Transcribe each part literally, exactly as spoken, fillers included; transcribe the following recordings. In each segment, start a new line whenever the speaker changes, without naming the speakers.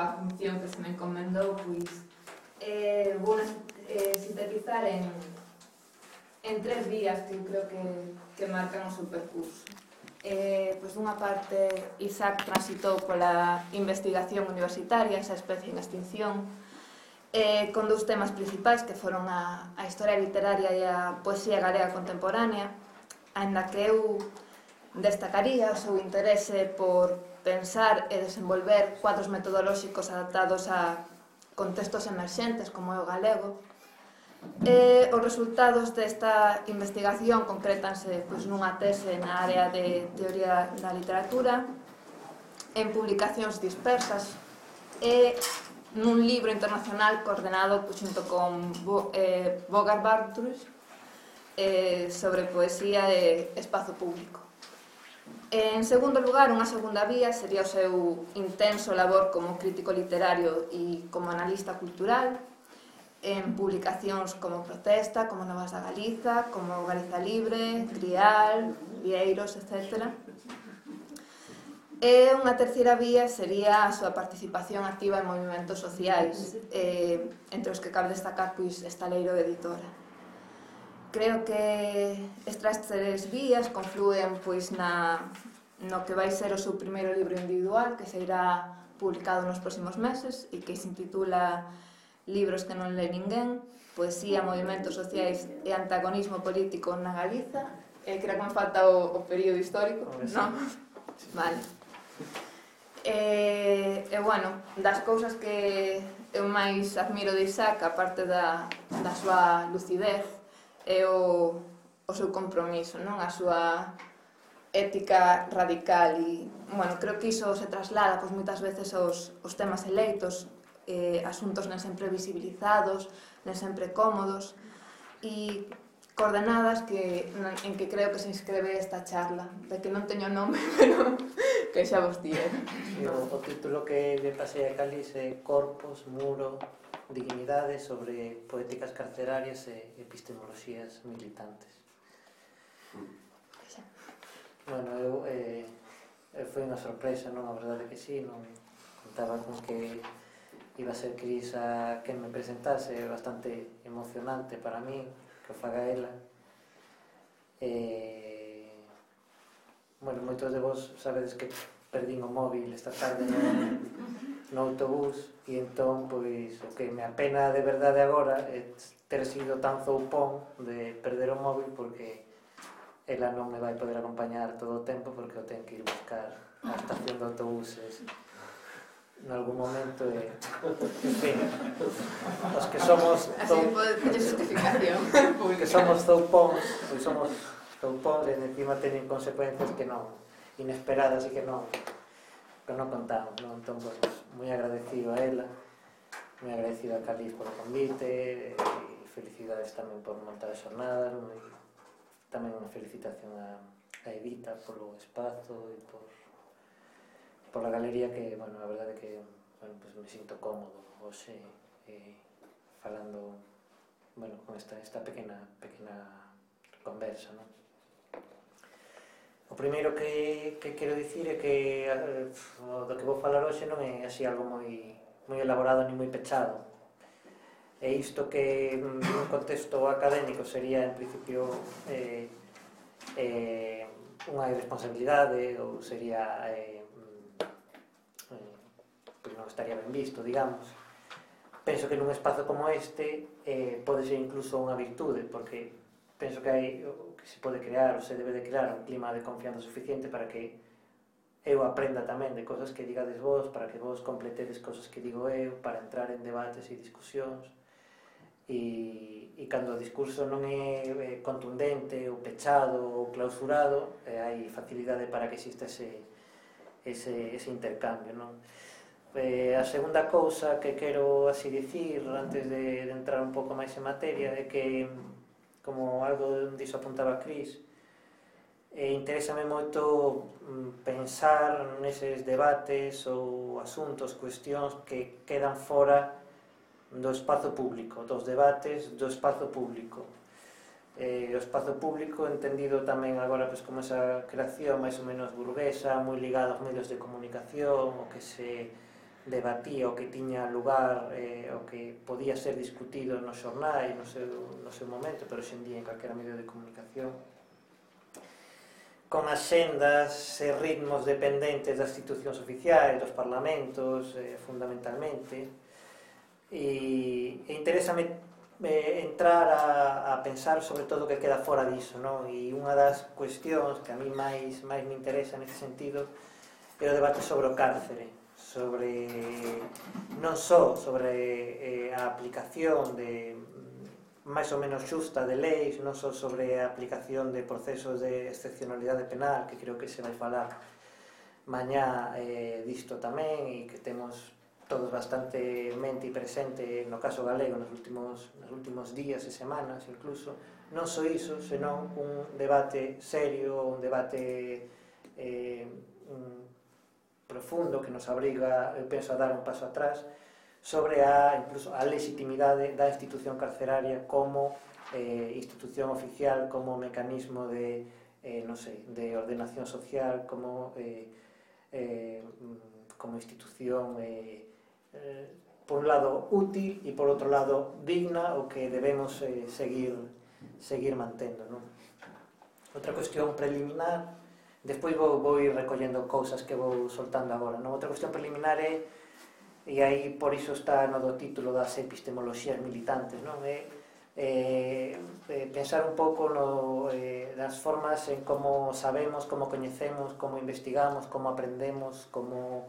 a función que se me encomendou, pois eh, vou eh, sintetizar en, en tres vías que eu creo que, que marcan o seu percurso. Eh, pois dunha parte, Isaac transitou pola investigación universitaria, esa especie en extinción, eh, con dous temas principais que foron a, a historia literaria e a poesía galega contemporánea, aínda que eu destacaría o seu interese por pensar e desenvolver cuadros metodolóxicos adaptados a contextos emerxentes como é o galego. E os resultados desta investigación concrétanse pois, nunha tese na área de teoría da literatura, en publicacións dispersas e nun libro internacional coordenado pois, xunto con eh, Bogart Bartrus eh, sobre poesía e espazo público. En segundo lugar, unha segunda vía sería o seu intenso labor como crítico literario e como analista cultural en publicacións como Protesta, como Novas da Galiza, como Galiza Libre, Grial, Vieiros, etcétera. E unha terceira vía sería a súa participación activa en movimentos sociais, eh, entre os que cabe destacar pois, Estaleiro Editora. Creo que estas tres vías confluen pois, na, no que vai ser o seu primeiro libro individual, que se irá publicado nos próximos meses e que se intitula Libros que non lee ninguén, poesía, movimentos sociais e antagonismo político na Galiza. Eh, creo que me falta o, o período histórico, non? Vale. E, e, bueno, das cousas que eu máis admiro de Isaac, aparte da, da súa lucidez, é o, o seu compromiso, non? A súa ética radical e, bueno, creo que iso se traslada pois, moitas veces aos, aos temas eleitos, eh, asuntos non sempre visibilizados, non sempre cómodos e coordenadas que, en que creo que se inscribe esta charla, de que non teño nome, pero que xa vos diré.
Sí, o, o título que me pasei a Calis é Corpos, Muro, Dignidade sobre poéticas carcerarias e epistemoloxías militantes. Bueno, eu, eh, foi unha sorpresa, non? A verdade que sí, non contaba con que iba a ser Cris a quen me presentase, bastante emocionante para mí que o faga ela. Eh, bueno, moitos de vos sabedes que perdín o móvil esta tarde no, no autobús e entón, pois, o que me apena de verdade agora é ter sido tan zoupón de perder o móvil porque ela non me vai poder acompañar todo o tempo porque o ten que ir buscar á estación de autobuses en algún momento e, en fin, os que somos
así pode teñer justificación
que somos zoupóns, pois somos zoupóns e encima teñen consecuencias que non inesperadas e que non que non contamos, non? Entón, pois, moi agradecido a ela, moi agradecido a Calis polo convite e felicidades tamén por montar a xornada, moi tamén unha felicitación a, a Evita polo espazo e por, por a galería que, bueno, a verdade que bueno, pues me sinto cómodo hoxe eh, falando bueno, con esta, esta pequena, pequena conversa, non? O primeiro que, que quero dicir é que eh, do que vou falar hoxe non é así algo moi, moi elaborado ni moi pechado. E isto que nun contexto académico sería en principio eh, eh, unha irresponsabilidade ou sería eh, eh, pois non estaría ben visto, digamos. Penso que nun espazo como este eh, pode ser incluso unha virtude porque penso que hai que se pode crear ou se debe de crear un clima de confianza suficiente para que eu aprenda tamén de cosas que digades vos, para que vos completedes cosas que digo eu, para entrar en debates e discusións. E, e cando o discurso non é eh, contundente ou pechado ou clausurado eh, hai facilidade para que exista ese, ese, ese intercambio, non? Eh, a segunda cousa que quero así dicir antes de, de entrar un pouco máis en materia é que, como algo diso apuntaba Cris, eh, interésame moito mm, pensar neses debates ou asuntos, cuestións que quedan fora do espazo público, dos debates do espazo público. Eh, o espazo público entendido tamén agora pues, como esa creación máis ou menos burguesa, moi ligada aos medios de comunicación, o que se debatía o que tiña lugar, eh, o que podía ser discutido nos xornais no seu, no seu momento, pero hoxe en día en calquera medio de comunicación, con axendas e ritmos dependentes das institucións oficiais, dos parlamentos, eh, fundamentalmente, e, e interésame eh, entrar a, a pensar sobre todo o que queda fora diso, non? E unha das cuestións que a mí máis, máis me interesa nesse sentido é o debate sobre o cárcere, sobre non só sobre eh, a aplicación de máis ou menos xusta de leis, non só sobre a aplicación de procesos de excepcionalidade penal, que creo que se vai falar mañá eh, disto tamén, e que temos todos bastante mente e presente no caso galego nos últimos, nos últimos días e semanas incluso, non só iso, senón un debate serio, un debate eh, un profundo que nos obriga, eu penso, a dar un paso atrás sobre a, incluso, a legitimidade da institución carceraria como eh, institución oficial, como mecanismo de, eh, non sei, de ordenación social, como, eh, eh, como institución eh, eh, por un lado útil e por outro lado digna, o que debemos eh, seguir, seguir mantendo, non? Outra cuestión preliminar. Despois vou, vou ir recollendo cousas que vou soltando agora, non? Outra cuestión preliminar é, e aí por iso está no do título das epistemoloxías militantes, non? É, é, é pensar un pouco no, eh, nas formas en como sabemos, como coñecemos, como investigamos, como aprendemos, como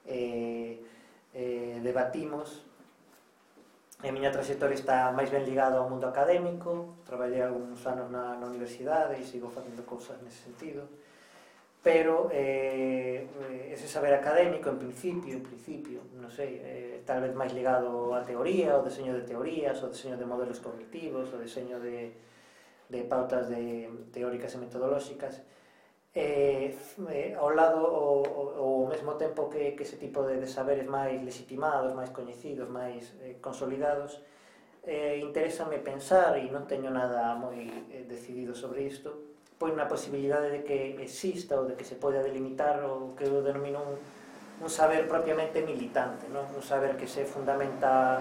eh, eh, debatimos. A miña trayectoria está máis ben ligada ao mundo académico, traballei algúns anos na, na universidade e sigo facendo cousas nese sentido. Pero eh, ese saber académico, en principio, en principio, non sei, eh, tal vez máis ligado á teoría, ao deseño de teorías, ao deseño de modelos cognitivos, ao deseño de, de pautas de, teóricas e metodolóxicas, eh, eh, ao lado, ao mesmo tempo que, que ese tipo de, de saberes máis legitimados, máis coñecidos, máis eh, consolidados, eh, interésame pensar, e non teño nada moi eh, decidido sobre isto, pois na posibilidade de que exista ou de que se poida delimitar o que eu denomino un, un saber propiamente militante, non? Un saber que se fundamenta,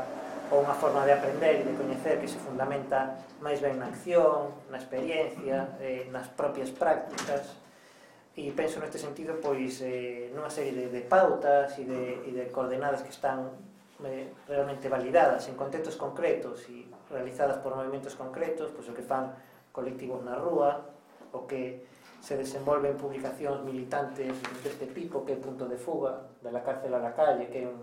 ou unha forma de aprender e de coñecer que se fundamenta máis ben na acción, na experiencia, eh, nas propias prácticas, e penso neste sentido pois eh, nunha serie de, de pautas e de, e de coordenadas que están eh, realmente validadas en contextos concretos e realizadas por movimentos concretos, pois o que fan colectivos na rúa, o que se desenvolve en publicacións militantes deste tipo, que é Punto de Fuga, de la cárcel a la calle, que é un,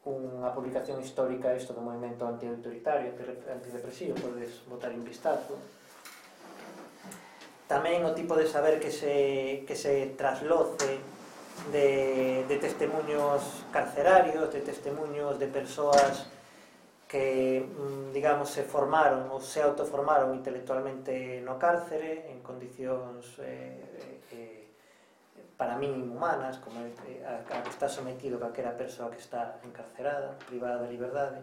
unha publicación histórica isto do movimento antiautoritario, antidepresivo, podes botar un vistazo. Tamén o tipo de saber que se, que se trasloce de, de testemunhos carcerarios, de testemunhos de persoas que, digamos, se formaron ou se autoformaron intelectualmente no cárcere en condicións eh, eh, para mí inhumanas, como eh, a, a que está sometido calquera persoa que está encarcerada, privada da liberdade,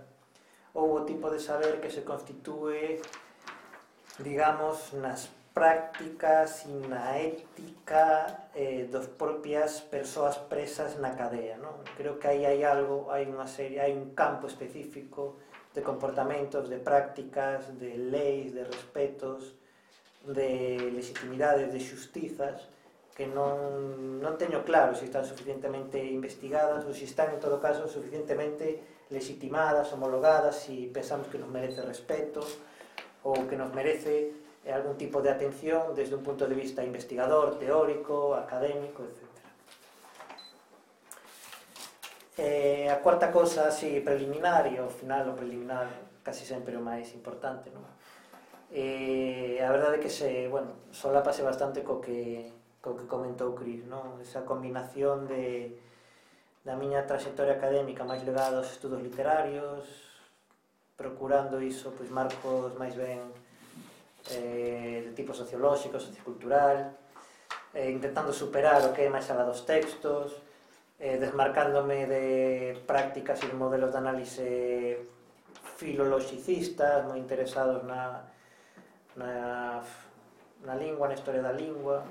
ou o tipo de saber que se constitúe, digamos, nas prácticas e na ética eh, dos propias persoas presas na cadea, non? Creo que aí hai algo, hai unha serie, hai un campo específico de comportamentos, de prácticas, de leis, de respetos, de legitimidades, de xustizas, que non, non teño claro se están suficientemente investigadas ou se están, en todo caso, suficientemente legitimadas, homologadas, se pensamos que nos merece respeto ou que nos merece algún tipo de atención desde un punto de vista investigador, teórico, académico, etcétera. Eh, a cuarta cosa, así, preliminar, e ao final o preliminar casi sempre o máis importante, non? Eh, a verdade é que se, bueno, solápase bastante co que, co que comentou Cris, non? Esa combinación de, da miña trayectoria académica máis ligada aos estudos literarios, procurando iso, pois, marcos máis ben eh, de tipo sociolóxico, sociocultural, eh, intentando superar o que é máis alá dos textos, eh, desmarcándome de prácticas e de modelos de análise filoloxicistas, moi interesados na, na, na lingua, na historia da lingua,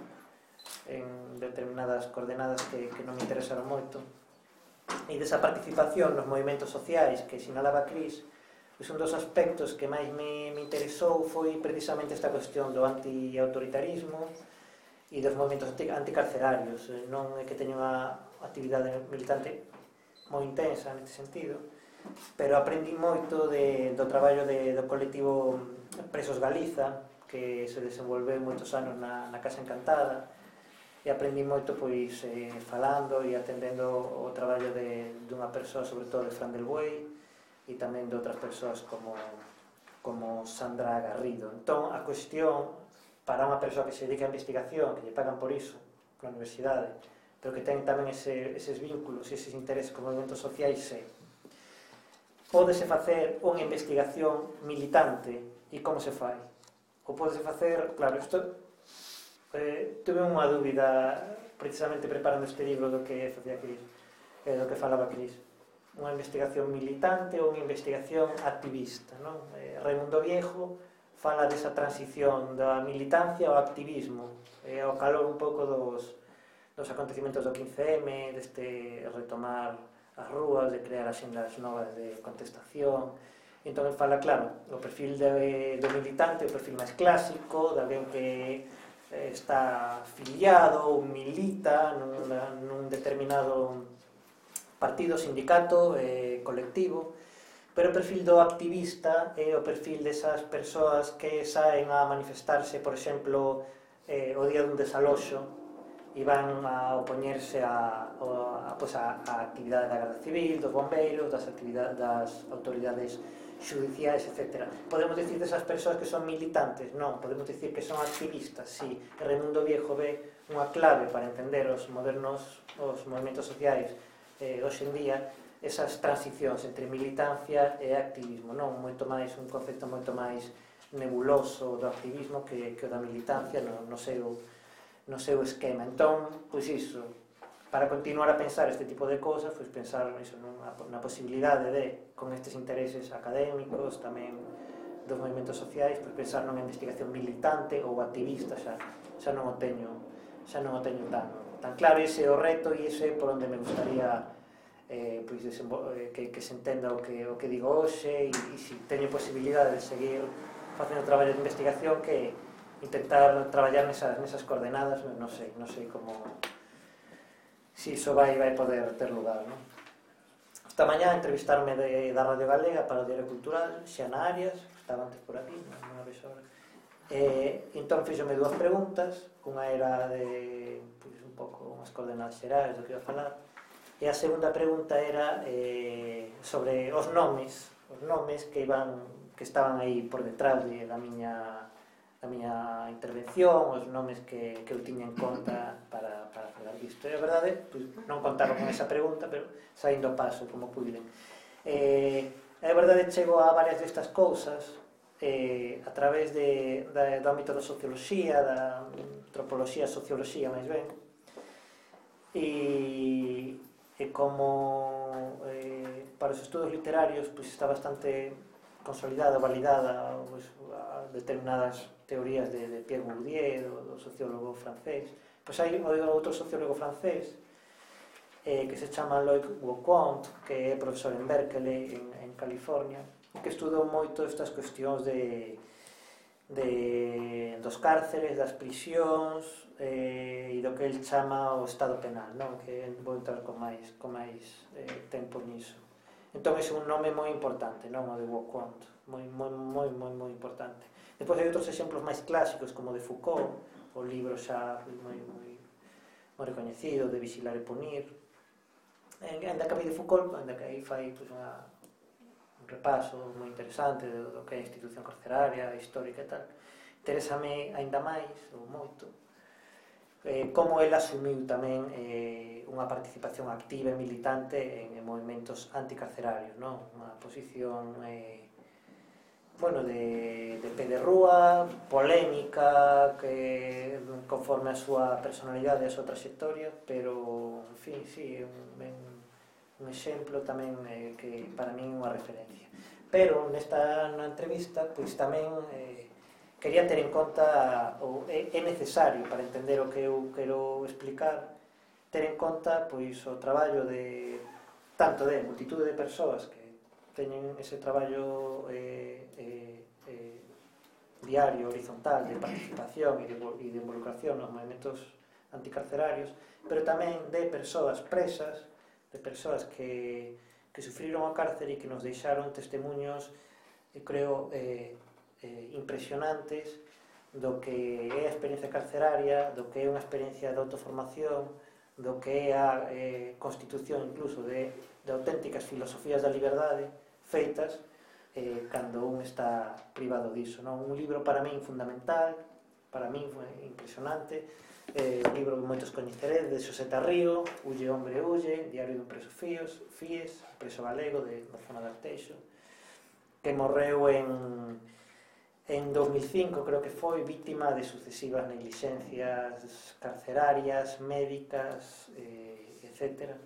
en determinadas coordenadas que, que non me interesaron moito. E desa participación nos movimentos sociais que sinalaba Cris, pois un dos aspectos que máis me, me interesou foi precisamente esta cuestión do anti-autoritarismo e dos movimentos anticarcerarios. Non é que teña unha actividade militante moi intensa neste sentido, pero aprendi moito de, do traballo de, do colectivo Presos Galiza, que se desenvolveu moitos anos na, na Casa Encantada, e aprendi moito pois eh, falando e atendendo o traballo de, dunha persoa, sobre todo de Fran del Buey, e tamén de outras persoas como, como Sandra Garrido. Entón, a cuestión para unha persoa que se dedica a investigación, que lle pagan por iso na universidade, pero que ten tamén ese, eses vínculos e eses intereses con movimentos sociais, é: pódese facer unha investigación militante e como se fai? Ou pódese facer, claro, isto eh, tuve unha dúbida precisamente preparando este libro do que facía Cris, eh, do que falaba Cris. Unha investigación militante ou unha investigación activista, non? Eh, Raimundo Viejo fala desa transición da militancia ao activismo, eh, ao calor un pouco dos, dos acontecimentos do quince eme, deste retomar as rúas, de crear axendas novas de contestación. E entón ele fala, claro, o perfil de, do militante, o perfil máis clásico, de alguén que eh, está afiliado ou milita nun, nun determinado partido, sindicato, eh, colectivo, pero o perfil do activista é o perfil desas persoas que saen a manifestarse, por exemplo, eh, o día dun desaloxo e van a opoñerse a, a, pues a, a actividade da Garda Civil, dos bombeiros, das, actividades, das autoridades judiciais, etcétera. Podemos dicir desas persoas que son militantes? Non, podemos dicir que son activistas, sí. Raimundo Viejo ve unha clave para entender os modernos, os movimentos sociais eh, hoxe en día, esas transicións entre militancia e activismo, non? Moito máis, un concepto moito máis nebuloso do activismo que, que o da militancia no, no, seu, no seu esquema. Entón, pois iso, para continuar a pensar este tipo de cosas, pois pensar iso, nunha, na posibilidade de, con estes intereses académicos, tamén dos movimentos sociais, pois pensar nunha investigación militante ou activista, xa, xa non o teño, xa non o teño tan, tan claro. Ese é o reto e ese é por onde me gustaría eh, pois eh, que, que se entenda o que, o que digo hoxe, e, e se teño posibilidade de seguir facendo traballo de investigación, que intentar traballar nesas, nesas coordenadas, non sei, non sei como si iso vai, vai poder ter lugar, non? Esta mañá entrevistarme de, da Radio Galega para o Diario Cultural, Xana Arias, estaba antes por aquí, non, non a vexo ahora. Eh, entón fixome dúas preguntas, unha era de pois, un pouco unhas coordenadas xerais do que iba a falar, e a segunda pregunta era eh, sobre os nomes, os nomes que iban, que estaban aí por detrás de, da miña da miña intervención, os nomes que, que eu tiña en conta para, para falar disto. E a verdade, pois, non contaron con esa pregunta, pero saindo o paso como puiden. Eh, a verdade, chego a varias destas cousas eh, a través de, da, do ámbito da socioloxía, da antropoloxía, socioloxía, máis ben, e, e como eh, para os estudos literarios pois, está bastante consolidada, validada pois, a determinadas teorías de, de Pierre Bourdieu, do, do sociólogo francés. Pois hai outro sociólogo francés eh, que se chama Loïc Wauquant, que é profesor en Berkeley, en, en California, que estudou moito estas cuestións de, de, dos cárceres, das prisións eh, e do que el chama o estado penal, non? Que vou entrar con máis, con máis eh, tempo niso. Entón, é un nome moi importante, non? O de Wauquant, moi, moi, moi, moi, moi importante. Depois hai outros exemplos máis clásicos, como o de Foucault, o libro xa moi, moi, moi recoñecido, de Vigilar e Punir. Ainda que de Foucault, ainda que aí fai pues, unha, un repaso moi interesante do, do que é a institución carceraria, histórica e tal. Interésame ainda máis, ou moito, eh, como ele asumiu tamén eh, unha participación activa e militante en, en movimentos anticarcerarios, non? Unha posición eh, bueno, de, de pé de rúa, polémica, que conforme a súa personalidade e a súa trayectoria, pero, en fin, sí, é un, un exemplo tamén eh, que para min é unha referencia. Pero nesta na entrevista, pois tamén eh, quería ter en conta, ou é, é necesario para entender o que eu quero explicar, ter en conta pois o traballo de tanto de multitude de persoas que teñen ese traballo eh, eh, eh, diario, horizontal, de participación e de, e de involucración nos movimentos anticarcerarios, pero tamén de persoas presas, de persoas que, que sufriron o cárcere e que nos deixaron testemunhos, eu creo, eh, eh, impresionantes do que é a experiencia carceraria, do que é unha experiencia de autoformación, do que é a eh, constitución incluso de, de auténticas filosofías da liberdade feitas eh, cando un está privado diso, non? Un libro para min fundamental, para min foi impresionante, eh, un libro que moitos coñeceredes, de Xosé Tarrío, Hulle hombre hulle, Diario dun preso fíos, Fies, preso galego de, da zona de Arteixo, que morreu en, en dos mil cinco, creo que foi, vítima de sucesivas negligencias carcerarias, médicas, eh, etcétera,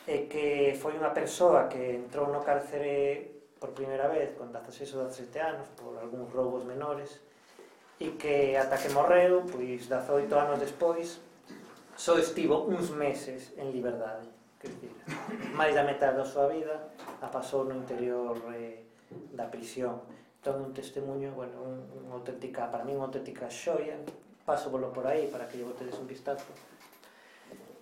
e que foi unha persoa que entrou no cárcere por primeira vez con dezaseis ou dezasete anos por algúns roubos menores e que ata que morreu, pois dezaoito anos despois, só estivo uns meses en liberdade, que dicir, máis da metade da súa vida a pasou no interior eh, da prisión. Entón un testemunho, bueno, un, un auténtica, para mí unha auténtica xoia, paso volo por aí para que lle botedes un vistazo.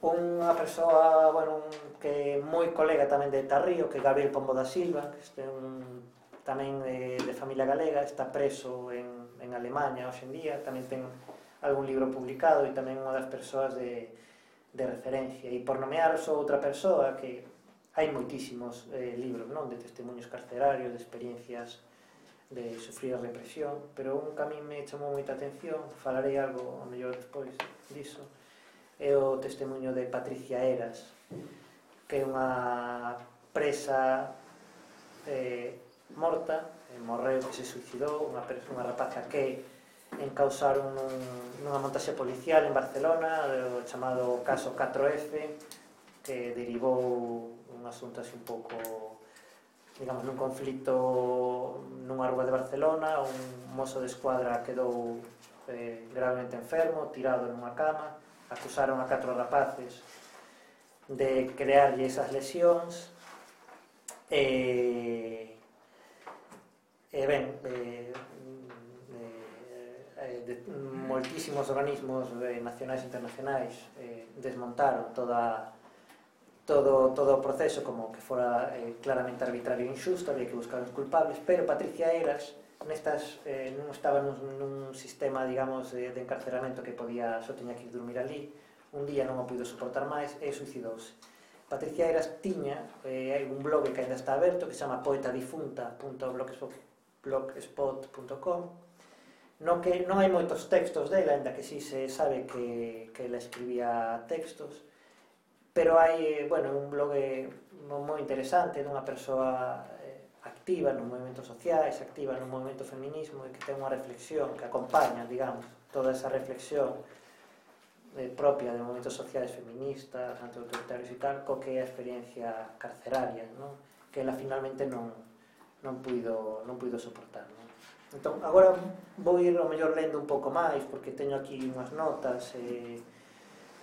Unha persoa, bueno, un, que é moi colega tamén de Tarrío, que é Gabriel Pombo da Silva, que este un, tamén de, de familia galega, está preso en, en Alemanha hoxe en día, tamén ten algún libro publicado e tamén unha das persoas de, de referencia. E por nomear só outra persoa, que hai moitísimos eh, libros, non, de testemunhos carcerarios, de experiencias de sufrir a represión, pero un que a mí me chamou moita atención, falarei algo a mellor despois diso, é o testemunho de Patricia Heras, que é unha presa eh, morta, eh, morreu, que se suicidou, unha, unha rapaza que encausaron nun, nunha montaxe policial en Barcelona, o chamado caso catro efe, que derivou un asunto así un pouco, digamos, nun conflito nunha rúa de Barcelona. Un mozo de escuadra quedou eh, gravemente enfermo, tirado nunha cama, acusaron a catro rapaces de crearlle esas lesións e, e ben, eh, eh, de, moitísimos organismos eh, nacionais e internacionais eh, desmontaron toda, todo, todo o proceso como que fora eh, claramente arbitrario e injusto, había que buscar os culpables, pero Patricia Heras nestas, eh, non estaba nun, nun sistema, digamos, de, de encarceramento que podía, só teña que ir dormir ali, un día non o puido soportar máis e suicidouse. Patricia Heras tiña eh, hai un blog que ainda está aberto que se chama poetadifunta punto blogspot punto com, no que non hai moitos textos dela, ainda que si se sabe que, que ela escribía textos, pero hai, bueno, un blog moi interesante dunha persoa activa nos movimentos sociais, activa no movimento feminismo e que ten unha reflexión que acompaña, digamos, toda esa reflexión eh, propia de movimentos sociais feministas, anti-autoritarios e tal, co que é a experiencia carceraria, non? Que ela finalmente non, non, puido, non puido soportar, non? Entón, agora vou ir ao mellor lendo un pouco máis, porque teño aquí unhas notas e...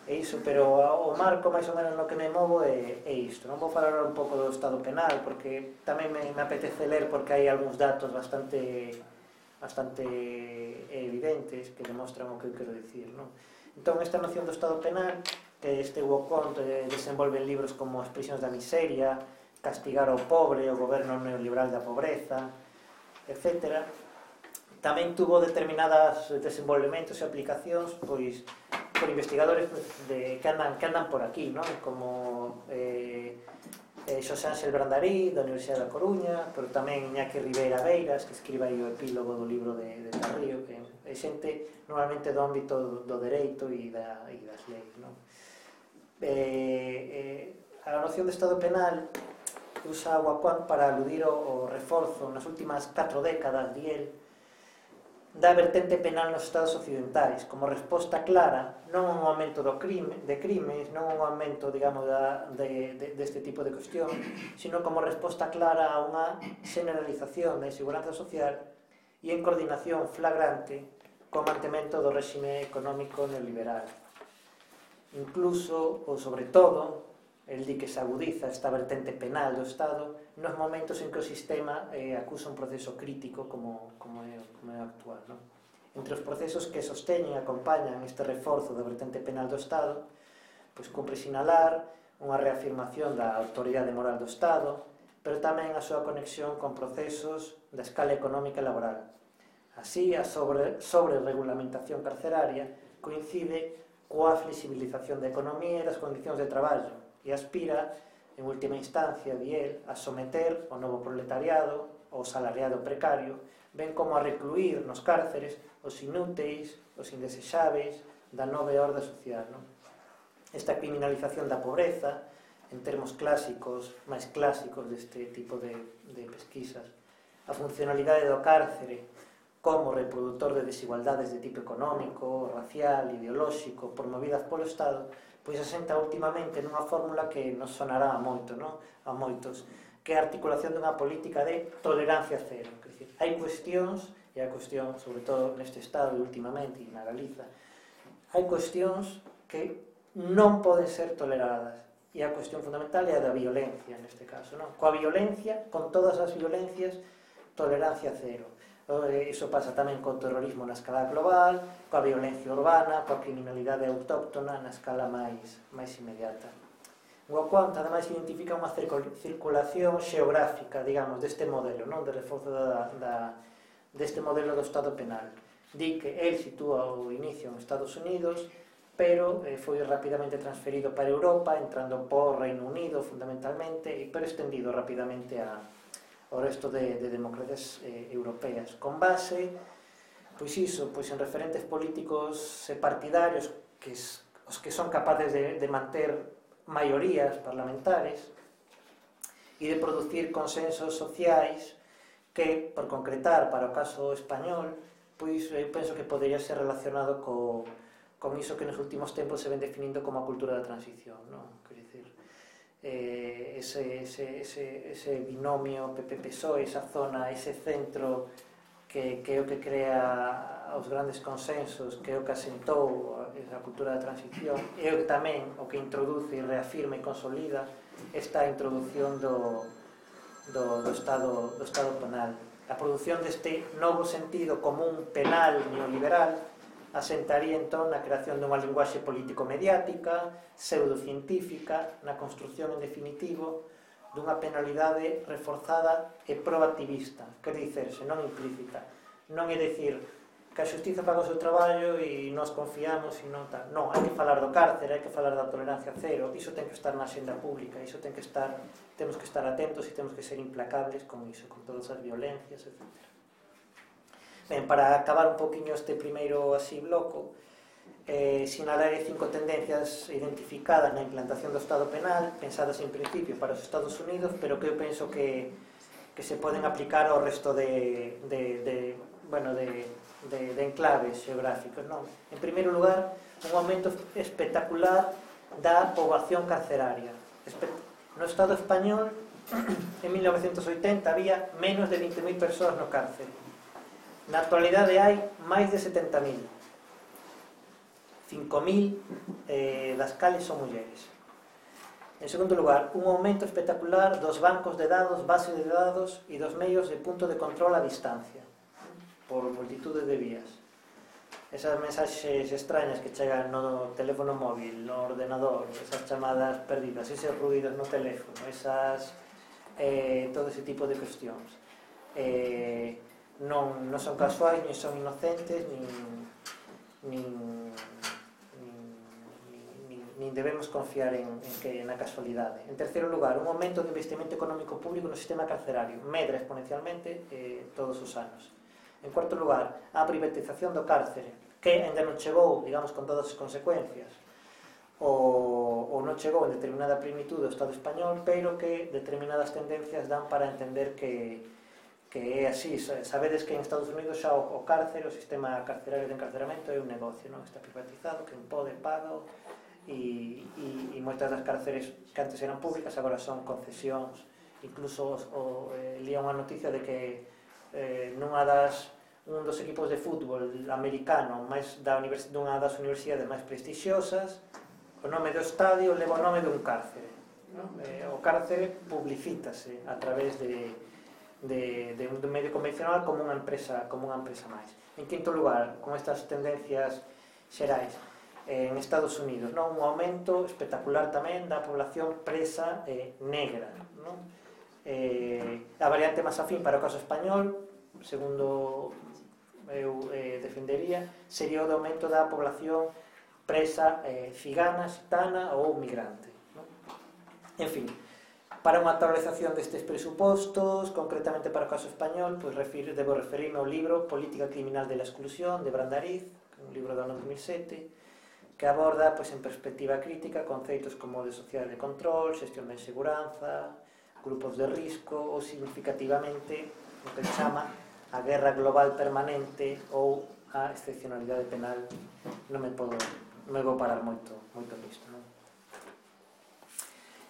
e iso, pero o marco máis ou menos no que me movo é, é isto. Non vou falar un pouco do estado penal, porque tamén me, me apetece ler, porque hai algúns datos bastante bastante evidentes que demostran o que eu quero dicir, non? Entón, esta noción do estado penal, que este Wocont desenvolve en libros como As prisións da miseria, Castigar ao pobre, o goberno neoliberal da pobreza, etcétera, tamén tuvo determinadas desenvolvementos e aplicacións, pois, por investigadores de, que, andan, que andan por aquí, non? Como eh, eh, Xosé Ángel Brandarí, da Universidade da Coruña, pero tamén Iñaki Ribeira Beiras, que escriba aí o epílogo do libro de, de Tarrío, que é xente normalmente do ámbito do, do dereito e, da, e das leis, non? Eh, eh, a noción de estado penal usa Wacom para aludir o, o reforzo nas últimas catro décadas, di el, da vertente penal nos estados occidentais como resposta clara non a un aumento do crime, de crimes, non a un aumento, digamos, da, de, de, deste tipo de cuestión, sino como resposta clara a unha generalización da inseguranza social e en coordinación flagrante co mantemento do réxime económico neoliberal. Incluso, ou sobre todo, el di que se agudiza esta vertente penal do Estado nos momentos en que o sistema eh, acusa un proceso crítico como, como, é, como é o actual, non? Entre os procesos que sosteñen e acompañan este reforzo da vertente penal do Estado, pois cumpre sinalar unha reafirmación da autoridade moral do Estado, pero tamén a súa conexión con procesos da escala económica e laboral. Así, a sobre, sobre regulamentación carceraria coincide coa flexibilización da economía e das condicións de traballo e aspira, en última instancia, di el, a someter o novo proletariado, o salariado precario, ben como a recluir nos cárceres os inúteis, os indesexáveis da nova orda social, non? Esta criminalización da pobreza, en termos clásicos, máis clásicos deste tipo de, de pesquisas, a funcionalidade do cárcere como reproductor de desigualdades de tipo económico, racial, ideolóxico, promovidas polo Estado, pois asenta últimamente nunha fórmula que nos sonará a moito, non? A moitos, que é a articulación dunha política de tolerancia cero. Quer dizer, hai cuestións, e a cuestión, sobre todo neste Estado e últimamente, e na Galiza, hai cuestións que non poden ser toleradas. E a cuestión fundamental é a da violencia, neste caso, non? Coa violencia, con todas as violencias, tolerancia cero. Iso pasa tamén co terrorismo na escala global, coa violencia urbana, coa criminalidade autóctona na escala máis, máis inmediata. O Quant, ademais, identifica unha circulación xeográfica, digamos, deste modelo, non? De reforzo da, da, deste modelo do Estado penal. Di que el sitúa o inicio en Estados Unidos, pero eh, foi rapidamente transferido para Europa, entrando por Reino Unido fundamentalmente, pero extendido rapidamente a, ao resto de, de democracias eh, europeas, con base, pois iso, pois en referentes políticos e partidarios, que es, os que son capaces de, de manter maiorías parlamentares e de producir consensos sociais que, por concretar para o caso español, pois eu penso que podería ser relacionado co con iso que nos últimos tempos se ven definindo como a cultura da transición, non? Quer dizer, eh, ese, ese, ese, ese binomio P P P S O E, esa zona, ese centro que, que é o que crea os grandes consensos, que é o que asentou a cultura da transición, é o que tamén o que introduce e reafirma e consolida esta introducción do, do, do, estado, do estado penal. A produción deste novo sentido común penal neoliberal asentaría entón na creación dunha linguaxe político-mediática, pseudocientífica, na construción, en definitivo, dunha penalidade reforzada e proactivista, quer dicerse, non implícita. Non é dicir que a xustiza faga o seu traballo e nos confiamos e non tal. Non, hai que falar do cárcere, hai que falar da tolerancia cero, iso ten que estar na xenda pública, iso ten que estar, temos que estar atentos e temos que ser implacables con iso, con todas as violencias, etcétera. Ben, para acabar un poquinho este primeiro así bloco, eh, sinalaré cinco tendencias identificadas na implantación do Estado penal, pensadas en principio para os Estados Unidos, pero que eu penso que, que se poden aplicar ao resto de, de, de, bueno, de, de, de enclaves xeográficos, non? En primeiro lugar, un aumento espectacular da poboación carceraria. No Estado español, en mil novecentos oitenta, había menos de vinte mil persoas no cárcere. Na actualidade hai máis de setenta mil. cinco mil eh, das cales son mulleres. En segundo lugar, un aumento espectacular dos bancos de dados, bases de dados e dos medios de punto de control a distancia, por multitudes de vías. Esas mensaxes extrañas que chegan no teléfono móvil, no ordenador, esas chamadas perdidas, eses ruidos no teléfono, esas, eh, todo ese tipo de cuestións. Eh, non, non son casuais, nin son inocentes, nin, nin, nin, nin debemos confiar en, en que na casualidade. En terceiro lugar, un aumento do investimento económico público no sistema carcerario, medra exponencialmente eh, todos os anos. En cuarto lugar, a privatización do cárcere, que ainda non chegou, digamos, con todas as consecuencias, ou, ou non chegou en determinada plenitud do Estado español, pero que determinadas tendencias dan para entender que que é así. Sabedes que en Estados Unidos xa o, o cárcere, o sistema carcerario de encarceramento é un negocio, non? Está privatizado, que pode pago, e, e, e moitas das cárceres que antes eran públicas agora son concesións. Incluso o, eh, lía unha noticia de que eh, nunha das un dos equipos de fútbol americano máis da dunha das universidades máis prestixiosas, o nome do estadio leva o nome dun cárcere. non? Eh, o cárcere publicítase a través de, de, de un medio convencional como unha empresa, como unha empresa máis. En quinto lugar, con estas tendencias xerais, en Estados Unidos, non? Un aumento espectacular tamén da población presa eh, negra, non? Eh, a variante máis afín para o caso español, segundo eu eh, defendería, sería o de aumento da población presa eh, cigana, xitana ou migrante, non? En fin, para unha actualización destes presupostos, concretamente para o caso español, pois refiro, debo referirme ao libro Política Criminal de la Exclusión, de Brandariz, un libro do ano dos mil sete, que aborda, pois, en perspectiva crítica conceitos como de sociedade de control, xestión da inseguranza, grupos de risco ou significativamente o que se chama a guerra global permanente ou a excepcionalidade penal. Non me podo, non me vou parar moito, moito nisto, non?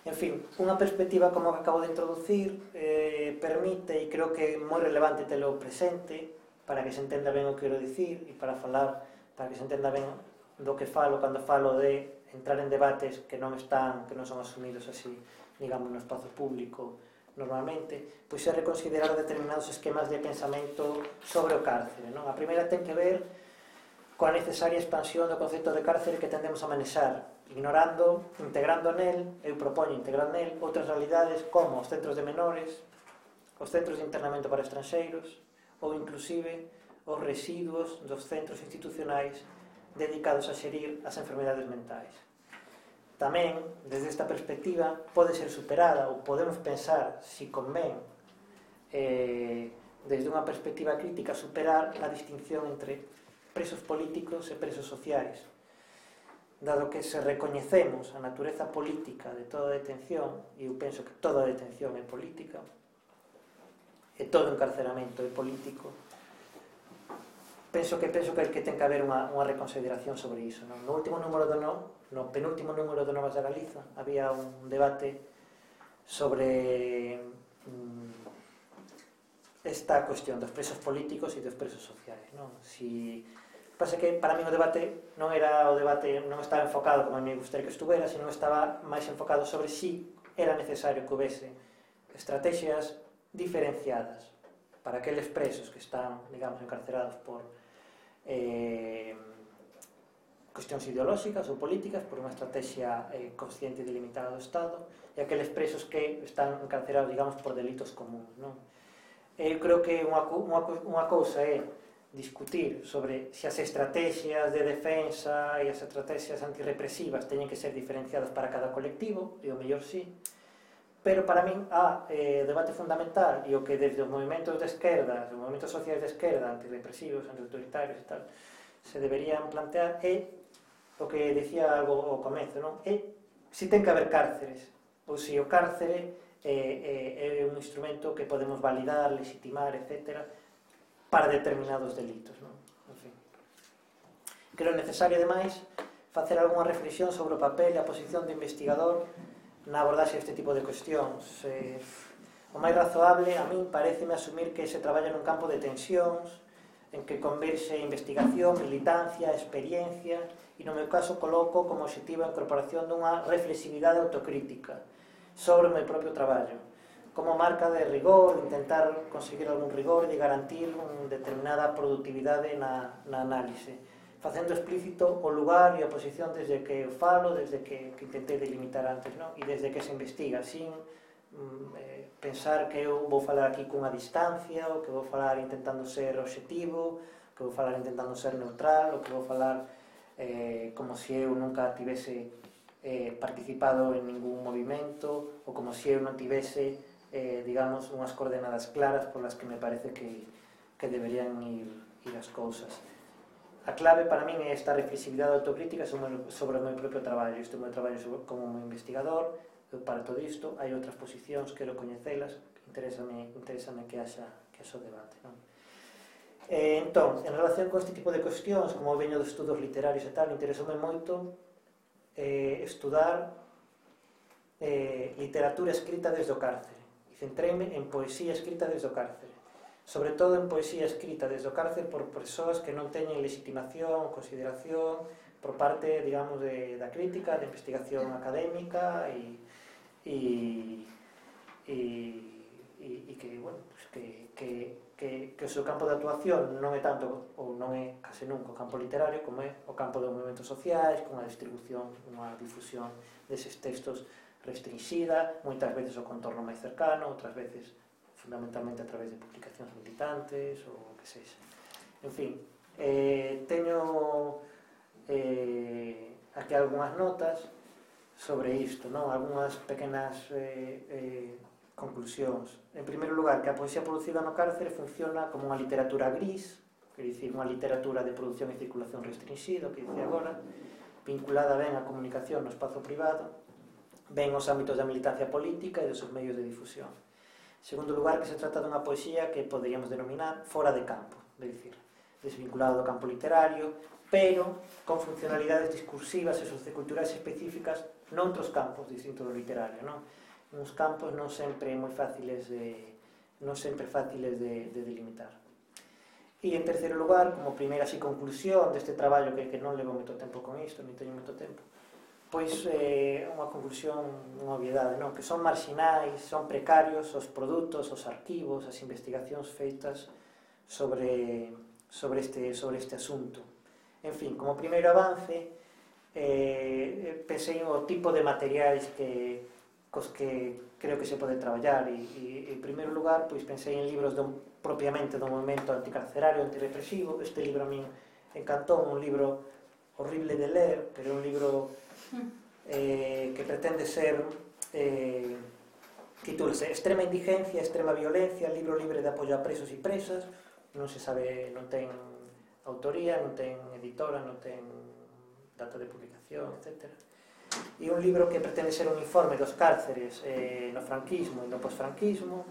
En fin, unha perspectiva como que acabo de introducir eh, permite, e creo que é moi relevante telo presente para que se entenda ben o que quero dicir e para falar, para que se entenda ben do que falo cando falo de entrar en debates que non están, que non son asumidos así, digamos, no espazo público normalmente, pois é reconsiderar determinados esquemas de pensamento sobre o cárcere, non? A primeira ten que ver coa necesaria expansión do concepto de cárcere que tendemos a manexar, ignorando, integrando nel, eu propoño integrar nel, outras realidades como os centros de menores, os centros de internamento para estranxeiros, ou inclusive os residuos dos centros institucionais dedicados a xerir as enfermedades mentais. Tamén, desde esta perspectiva, pode ser superada ou podemos pensar, si convén, eh, desde unha perspectiva crítica, superar a distinción entre presos políticos e presos sociais. Dado que se recoñecemos a natureza política de toda detención, e eu penso que toda detención é política, e todo encarceramento é político, penso que penso que, que ten que haber unha, unha reconsideración sobre iso, non? No último número do no, no penúltimo número do Novas da Galiza había un debate sobre mm, esta cuestión dos presos políticos e dos presos sociais, non? Si pasa que para mí o debate non era o debate, non estaba enfocado como a mí me gustaría que estuvera, sino estaba máis enfocado sobre si era necesario que houvese estrategias diferenciadas para aqueles presos que están, digamos, encarcerados por eh, cuestións ideolóxicas ou políticas, por unha estrategia eh, consciente e delimitada do Estado, e aqueles presos que están encarcerados, digamos, por delitos comuns, non? Eu creo que unha, unha, unha cousa é discutir sobre se as estrategias de defensa e as estrategias antirrepresivas teñen que ser diferenciadas para cada colectivo, e o mellor sí, pero para min a eh, debate fundamental e o que desde os movimentos de esquerda, os movimentos sociais de esquerda, antirrepresivos, antiautoritarios e tal, se deberían plantear é o que decía algo ao comezo, non? É se ten que haber cárceres, ou se o cárcere é, é, é un instrumento que podemos validar, legitimar, etcétera, para determinados delitos, non? En fin. Creo necesario, ademais, facer algunha reflexión sobre o papel e a posición do investigador na abordaxe deste tipo de cuestións. Eh, o máis razoable, a min, pareceme asumir que se traballa nun campo de tensións, en que converxe investigación, militancia, experiencia, e no meu caso coloco como objetivo a incorporación dunha reflexividade autocrítica sobre o meu propio traballo, como marca de rigor, intentar conseguir algún rigor e garantir unha determinada productividade na, na análise, facendo explícito o lugar e a posición desde que eu falo, desde que, que intentei delimitar antes, non? E desde que se investiga, sin mm, eh, pensar que eu vou falar aquí cunha distancia, ou que vou falar intentando ser objetivo, que vou falar intentando ser neutral, ou que vou falar eh, como se eu nunca tivese eh, participado en ningún movimento, ou como se eu non tivese, eh, digamos, unhas coordenadas claras polas que me parece que, que deberían ir, ir as cousas. A clave para min é esta reflexividade autocrítica sobre o meu propio traballo. Isto é o meu traballo como un investigador, para todo isto hai outras posicións, quero coñecelas, interésame, interésame que haxa, que haxa o debate, non? Eh, entón, en relación con este tipo de cuestións, como veño de estudos literarios e tal, interesoume moito eh, estudar eh, literatura escrita desde o cárcere, e centreime en poesía escrita desde o cárcere, sobre todo en poesía escrita desde o cárcere por persoas que non teñen legitimación, consideración por parte, digamos, de, da crítica, da investigación académica e, e, e, e, e que, bueno, pues que, que, que, que o seu campo de actuación non é tanto, ou non é case nunca o campo literario, como é o campo dos movimentos sociais, con a distribución, unha difusión deses textos restringida, moitas veces o contorno máis cercano, outras veces fundamentalmente a través de publicacións militantes ou o que sexa. En fin, eh, teño eh, aquí algunhas notas sobre isto, non? Algunhas pequenas eh, eh, conclusións. En primeiro lugar, que a poesía producida no cárcere funciona como unha literatura gris, quer dicir, unha literatura de produción e circulación restringida, que dice agora, vinculada ben á comunicación no espazo privado, ben aos ámbitos da militancia política e dos seus medios de difusión. En segundo lugar, que se trata dunha poesía que poderíamos denominar fora de campo, é dicir, desvinculado do campo literario, pero con funcionalidades discursivas e socioculturais específicas noutros campos distintos do literario, non? Uns campos non sempre moi fáciles de, non sempre fáciles de, de delimitar. E en terceiro lugar, como primeira así conclusión deste traballo que, que non levo moito tempo con isto, non teño moito tempo, pois é eh, unha conclusión, unha obviedade, non? Que son marxinais, son precarios os produtos, os arquivos, as investigacións feitas sobre, sobre, este, sobre este asunto. En fin, como primeiro avance, eh, pensei o tipo de materiais que cos que creo que se pode traballar e, e en primeiro lugar, pois pensei en libros do, propiamente do movimento anticarcerario, antirepresivo. Este libro a min encantou, un libro horrible de ler, pero un libro eh, que pretende ser eh, titúlase Extrema indigencia, extrema violencia, libro libre de apoio a presos e presas, non se sabe, non ten autoría, non ten editora, non ten data de publicación, etcétera. E un libro que pretende ser un informe dos cárceres eh, no franquismo e no posfranquismo,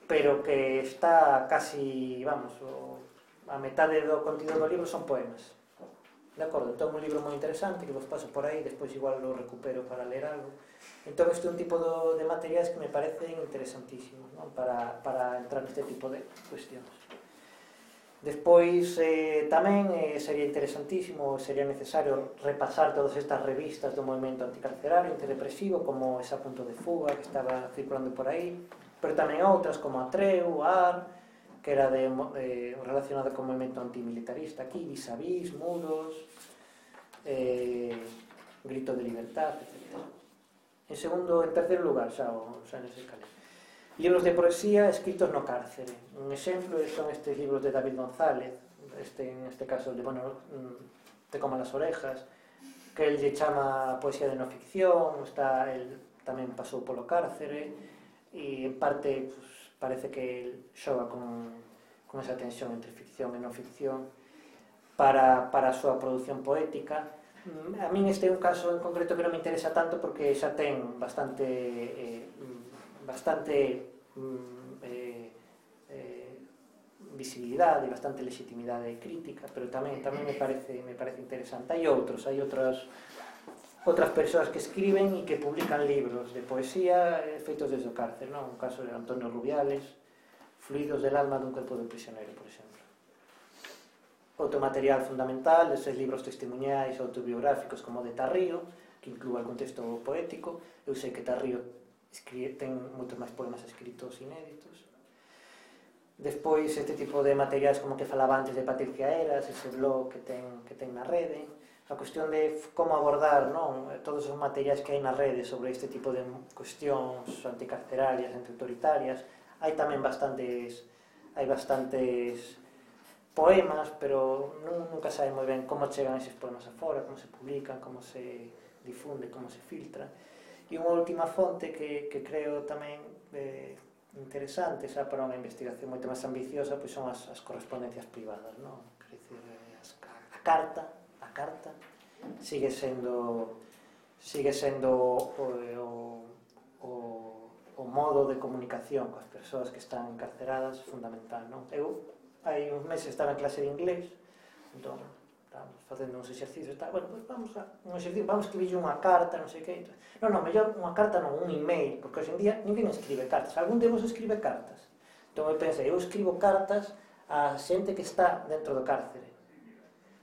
pero que está casi, vamos, o, a metade do contido do libro son poemas. De acordo? Entón, un libro moi interesante que vos paso por aí, despois igual lo recupero para ler algo. Entón, este é un tipo do, de materiais que me parecen interesantísimos, non? Para, para entrar neste tipo de cuestións. Despois, eh, tamén eh, sería interesantísimo, sería necesario repasar todas estas revistas do movimento anticarcerario, antirepresivo, como esa Punto de Fuga que estaba circulando por aí, pero tamén outras como a Treu, a AR, que era de, de, relacionada con o movimento antimilitarista aquí, Vis a Vis, Muros, eh, Grito de Libertad, etcétera. En segundo, en terceiro lugar, xa, o, xa nese calé. Libros de poesía escritos no cárcere. Un exemplo son estes libros de David González, este, en este caso de, bueno, Te coman las orejas, que el lle chama poesía de no ficción, está, el tamén pasou polo cárcere, e en parte pues, parece que el xoga con, con esa tensión entre ficción e non ficción para, para a súa produción poética. A min este é un caso en concreto que non me interesa tanto porque xa ten bastante eh, bastante eh, eh, visibilidade e bastante legitimidade crítica, pero tamén tamén me parece me parece interesante. Hai outros, hai outras outras persoas que escriben e que publican libros de poesía eh, feitos desde o cárcere, non? Un caso de Antonio Rubiales, Fluidos del alma dun cuerpo de prisionero, por exemplo. Outro material fundamental deses libros testimoniais autobiográficos como de Tarrío, que inclúa algún texto poético. Eu sei que Tarrío escribe, ten moitos máis poemas escritos inéditos. Despois, este tipo de materiais como que falaba antes de Patricia Eras, ese blog que ten, que ten na rede. A cuestión de como abordar, non, todos os materiais que hai na rede sobre este tipo de cuestións anticarcerarias, antiautoritarias. Hai tamén bastantes, hai bastantes poemas, pero nunca sabe moi ben como chegan eses poemas afora, como se publican, como se difunde, como se filtra. E unha última fonte que, que creo tamén eh, interesante, xa para unha investigación moito máis ambiciosa, pois son as, as correspondencias privadas, non? Quer dizer, as, a carta, a carta sigue sendo sigue sendo o, o, o, o modo de comunicación coas persoas que están encarceradas fundamental, non? Eu hai uns meses estaba en clase de inglés, entón estábamos facendo uns exercicios, está, bueno, pues vamos a un exercicio, vamos a escribir unha carta, non sei que, non, non, mellor unha carta non, un email, porque hoxe en día ninguén escribe cartas, algún de vos escribe cartas. Entón eu pensei, eu escribo cartas a xente que está dentro do cárcere,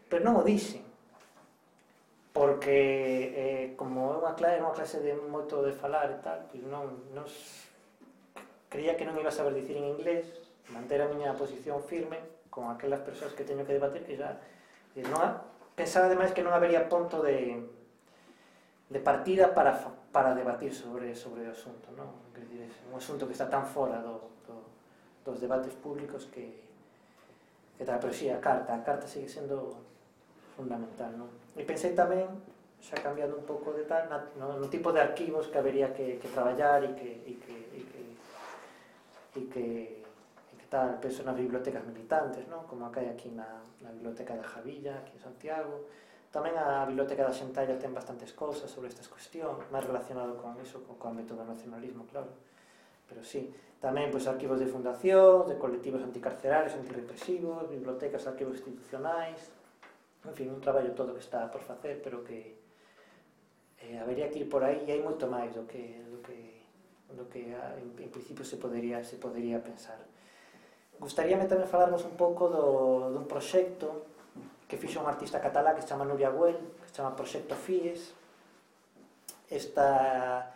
pero non o dixen. porque eh, como é unha clase, unha clase de moito de falar e tal, pois non, non creía que non iba a saber dicir en inglés, manter a miña posición firme con aquelas persoas que teño que debatir, que xa non, pensaba ademais que non habería punto de, de partida para, para debatir sobre, sobre o asunto, non? Quer dizer, é un asunto que está tan fora do, do, dos debates públicos que, que tal, pero sí, a carta, a carta sigue sendo fundamental, non? E pensei tamén, xa cambiando un pouco de tal, no, no tipo de arquivos que habería que, que traballar e que, e que, e que, e que, e que tal, penso nas bibliotecas militantes, non? Como a que hai aquí na, na biblioteca da Javilla, aquí en Santiago. Tamén a biblioteca da Xentalla ten bastantes cousas sobre estas cuestións, máis relacionado con iso, con, con o método do nacionalismo, claro. Pero sí, tamén pois, arquivos de fundación, de colectivos anticarcerarios, antirrepresivos, bibliotecas, arquivos institucionais, en fin, un traballo todo que está por facer, pero que eh, habería que ir por aí e hai moito máis do que, do que, do que en, en principio se podería, se podería pensar. Gustaríame tamén falarvos un pouco do, dun proxecto que fixo un artista catalá que se chama Nuria Güell, que se chama Proxecto Fies. Esta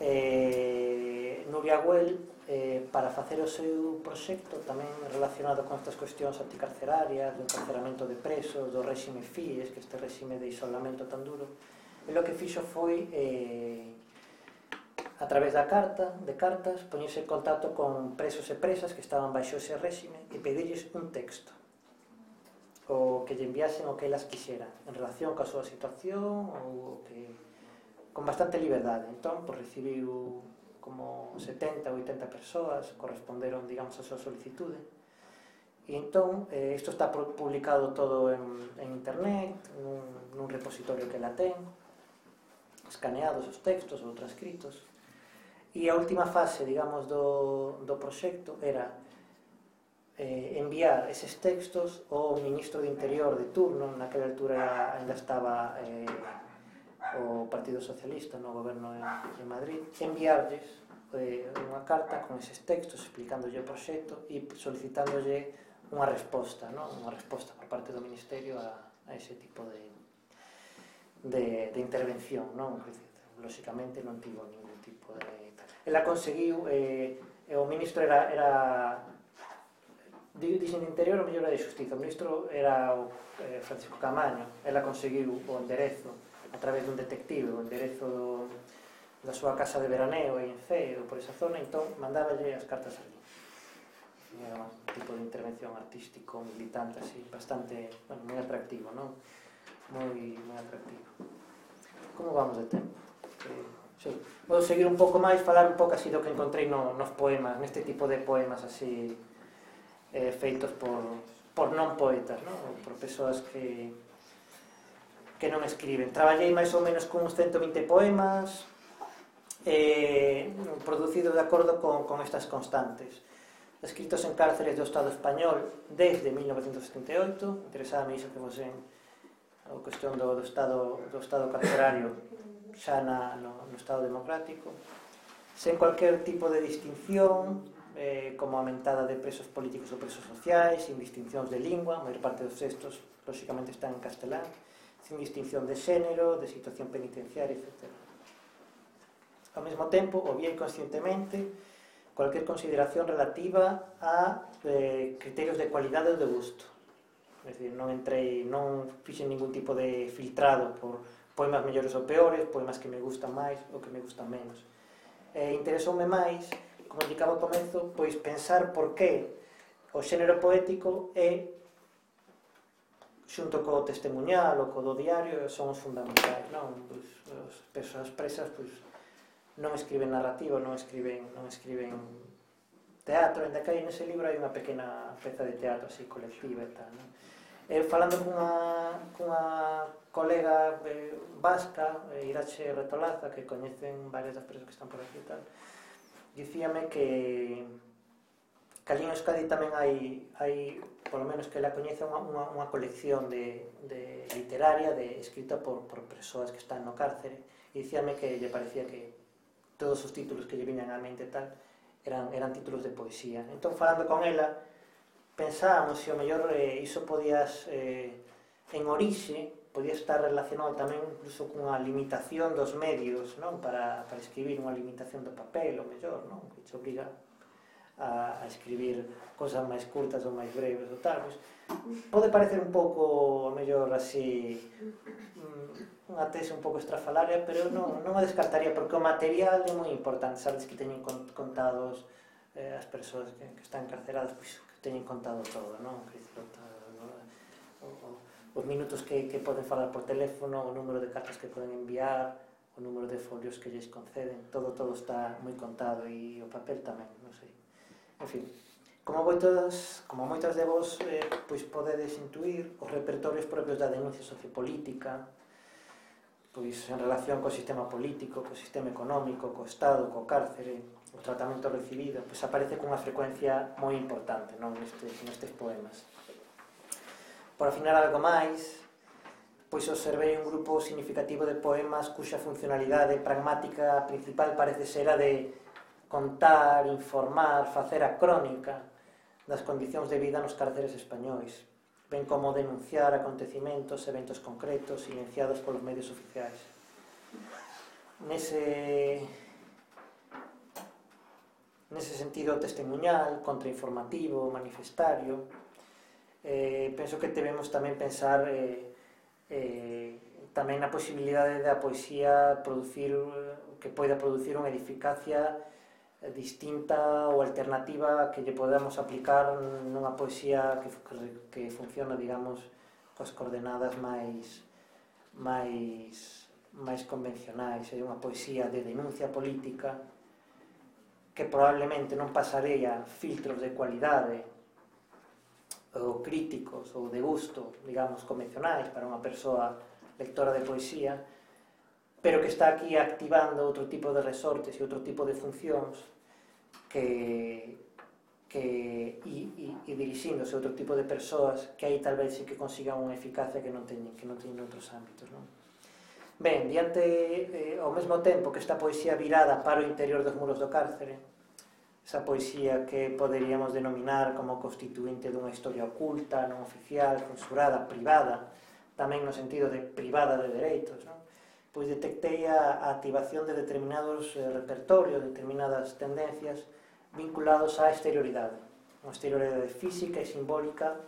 eh, Nuria Güell, eh, para facer o seu proxecto tamén relacionado con estas cuestións anticarcerarias, do encarceramento de presos, do réxime Fies, que este réxime de isolamento tan duro, e o que fixo foi eh, a través da carta, de cartas, poñerse en contacto con presos e presas que estaban baixo ese réxime e pedirlles un texto o que lle enviasen o que elas quixeran en relación coa súa situación ou que con bastante liberdade. Entón, pues, recibiu como setenta ou oitenta persoas, corresponderon, digamos, a súa solicitude. E entón, eh, isto está publicado todo en, en internet, nun, nun repositorio que la ten, escaneados os textos ou transcritos. E a última fase, digamos, do, do proxecto era eh, enviar eses textos ao ministro de Interior de turno, naquela altura ainda estaba eh, o Partido Socialista no goberno de, de Madrid, enviarlles eh, unha carta con eses textos explicándolle o proxecto e solicitándolle unha resposta, non? Unha resposta por parte do Ministerio a, a ese tipo de, de, de intervención, non? Lóxicamente non tivo ningún tipo de... Ela conseguiu, eh, o ministro era, era dixen de Interior, o mellor era de Xustiza, o ministro era o eh, Francisco Camaño. Ela conseguiu o enderezo a través dun detective, o enderezo do, da súa casa de veraneo aí en Cee, ou por esa zona, entón mandáballe as cartas ali. Era un tipo de intervención artístico, militante, así, bastante, bueno, moi atractivo, non? Moi, moi atractivo. Como vamos de tempo? Eh, sí. Vou seguir un pouco máis, falar un pouco así do que encontrei no, nos poemas, neste tipo de poemas así eh, feitos por, por non poetas, non? Ou por persoas que que non escriben. Traballei máis ou menos con uns ciento vinte poemas eh, producidos de acordo con, con estas constantes, escritos en cárceles do Estado español desde mil novecentos setenta e oito. Interesaba iso que fosen a cuestión do, do, estado, do estado carcerario xa na, no, no Estado democrático, sen cualquier tipo de distinción, eh, como a mentada de presos políticos ou presos sociais, sin distincións de lingua, a maior parte dos textos lóxicamente están en castelán, sin distinción de xénero, de situación penitenciaria, etcétera. Ao mesmo tempo, o bien conscientemente, cualquier consideración relativa a eh, criterios de cualidade ou de gusto. É dicir, non entrei, non fixen ningún tipo de filtrado por poemas mellores ou peores, poemas que me gustan máis ou que me gustan menos. Eh, interesoume máis, como indicaba ao comezo, pois pensar por que o xénero poético é, xunto co testemunhal ou co do diario, son os fundamentais, non? Pois, as persoas presas pois, non escriben narrativa, non escriben, non escriben teatro, ainda que hai nese libro hai unha pequena peza de teatro así colectiva e tal, non? Eh, falando cunha, cunha colega eh, vasca, eh, Irache Retolaza, que coñecen varias das persoas que están por aquí e tal, dicíame que que ali en Euskadi tamén hai, hai polo menos que ela coñece unha, unha, unha colección de, de literaria de, escrita por, por persoas que están no cárcere, e dicíame que lle parecía que todos os títulos que lle viñan á mente e tal eran, eran títulos de poesía. Entón, falando con ela, pensábamos se o mellor eh, iso podías eh, en orixe podía estar relacionado tamén incluso cunha limitación dos medios, non? Para, para escribir, unha limitación do papel, o mellor, non? Que te obriga a, a escribir cosas máis curtas ou máis breves ou tal, pois, pode parecer un pouco, a mellor, así, unha tese un pouco estrafalaria, pero non, non a descartaría, porque o material é moi importante, sabes que teñen contados eh, as persoas que, que están encarceradas, pois que teñen contado todo, non? Que dicir, os minutos que, que poden falar por teléfono, o número de cartas que poden enviar, o número de folios que lles conceden, todo todo está moi contado, e o papel tamén, non sei. En fin, como moitas, como moitas de vos eh, pois podedes intuir, os repertorios propios da denuncia sociopolítica, pois en relación co sistema político, co sistema económico, co Estado, co cárcere, o tratamento recibido, pois aparece cunha frecuencia moi importante, non, nestes, nestes poemas. Por afinar algo máis, pois observei un grupo significativo de poemas cuxa funcionalidade pragmática principal parece ser a de contar, informar, facer a crónica das condicións de vida nos cárceres españois, ben como denunciar acontecimentos, eventos concretos, silenciados polos medios oficiais. Nese, nese sentido testemunhal, contrainformativo, manifestario, Eh, penso que debemos tamén pensar eh, eh, tamén na posibilidade da poesía producir, que poida producir unha eficacia distinta ou alternativa que lle podamos aplicar nunha poesía que, que, que funciona, digamos, coas coordenadas máis máis máis convencionais. É unha poesía de denuncia política que probablemente non pasaría filtros de cualidade ou críticos ou de gusto, digamos, convencionais para unha persoa lectora de poesía, pero que está aquí activando outro tipo de resortes e outro tipo de funcións que, que e, e, e dirixíndose a outro tipo de persoas que aí tal vez sí que consigan unha eficacia que non teñen, que non teñen outros ámbitos, non? Ben, diante, eh, ao mesmo tempo que esta poesía virada para o interior dos muros do cárcere, esa poesía que poderíamos denominar como constituinte dunha historia oculta, non oficial, censurada, privada, tamén no sentido de privada de dereitos, non? Pois detectei a, a activación de determinados eh, repertorios, determinadas tendencias vinculados á exterioridade, unha exterioridade física e simbólica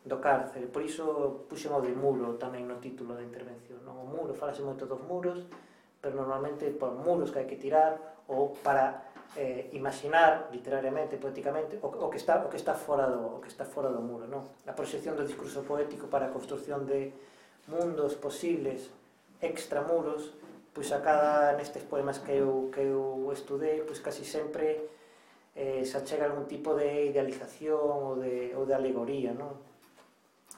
do cárcere. Por iso puxen o de muro tamén no título da intervención, non? O muro, falase moito dos muros, pero normalmente por muros que hai que tirar ou para eh, imaginar literariamente, poéticamente o, o, que está, o que está fora do, o que está fora do muro, non? A proxección do discurso poético para a construcción de mundos posibles extramuros, pois a cada nestes poemas que eu, que eu estudei, pois casi sempre eh, se achega algún tipo de idealización ou de, ou de alegoría, non?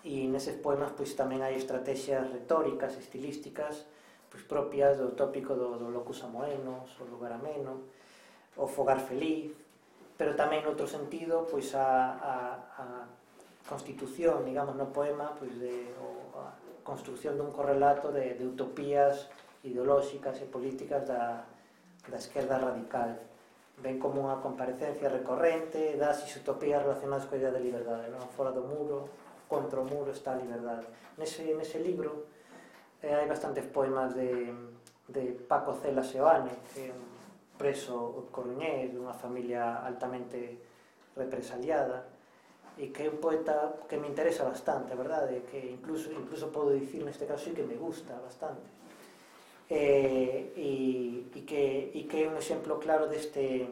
E neses poemas pois tamén hai estrategias retóricas, estilísticas, pois propias do tópico do, do locus amoenos, o lugar ameno, o fogar feliz, pero tamén noutro sentido pois a, a, a constitución, digamos, no poema, pois de o, a construcción dun correlato de, de utopías ideolóxicas e políticas da, da esquerda radical, ben como unha comparecencia recorrente das utopías relacionadas coa idea de liberdade, non? Fora do muro, contra o muro está a liberdade. Nese, nese libro eh, hai bastantes poemas de, de Paco Cela Seoane, que é un preso coruñés dunha familia altamente represaliada e que é un poeta que me interesa bastante, a verdade, que incluso, incluso podo dicir neste caso que me gusta bastante e, e, e, que, e que é un exemplo claro deste,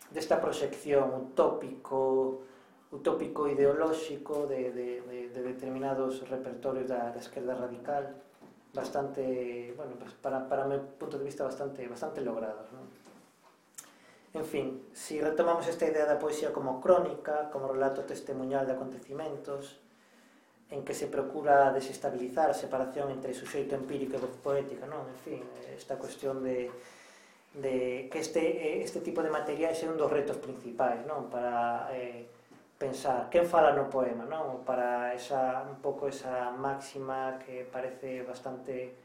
desta proxección utópico utópico ideolóxico de, de, de, de determinados repertorios da, da esquerda radical bastante, bueno, para, para meu punto de vista bastante, bastante logrados, non? En fin, si retomamos esta idea da poesía como crónica, como relato testemunhal de acontecimentos, en que se procura desestabilizar a separación entre suxeito empírico e voz poética, non? En fin, esta cuestión de, de que este, este tipo de materiais é un dos retos principais, non? Para eh, pensar quen fala no poema, non? Para esa, un pouco esa máxima que parece bastante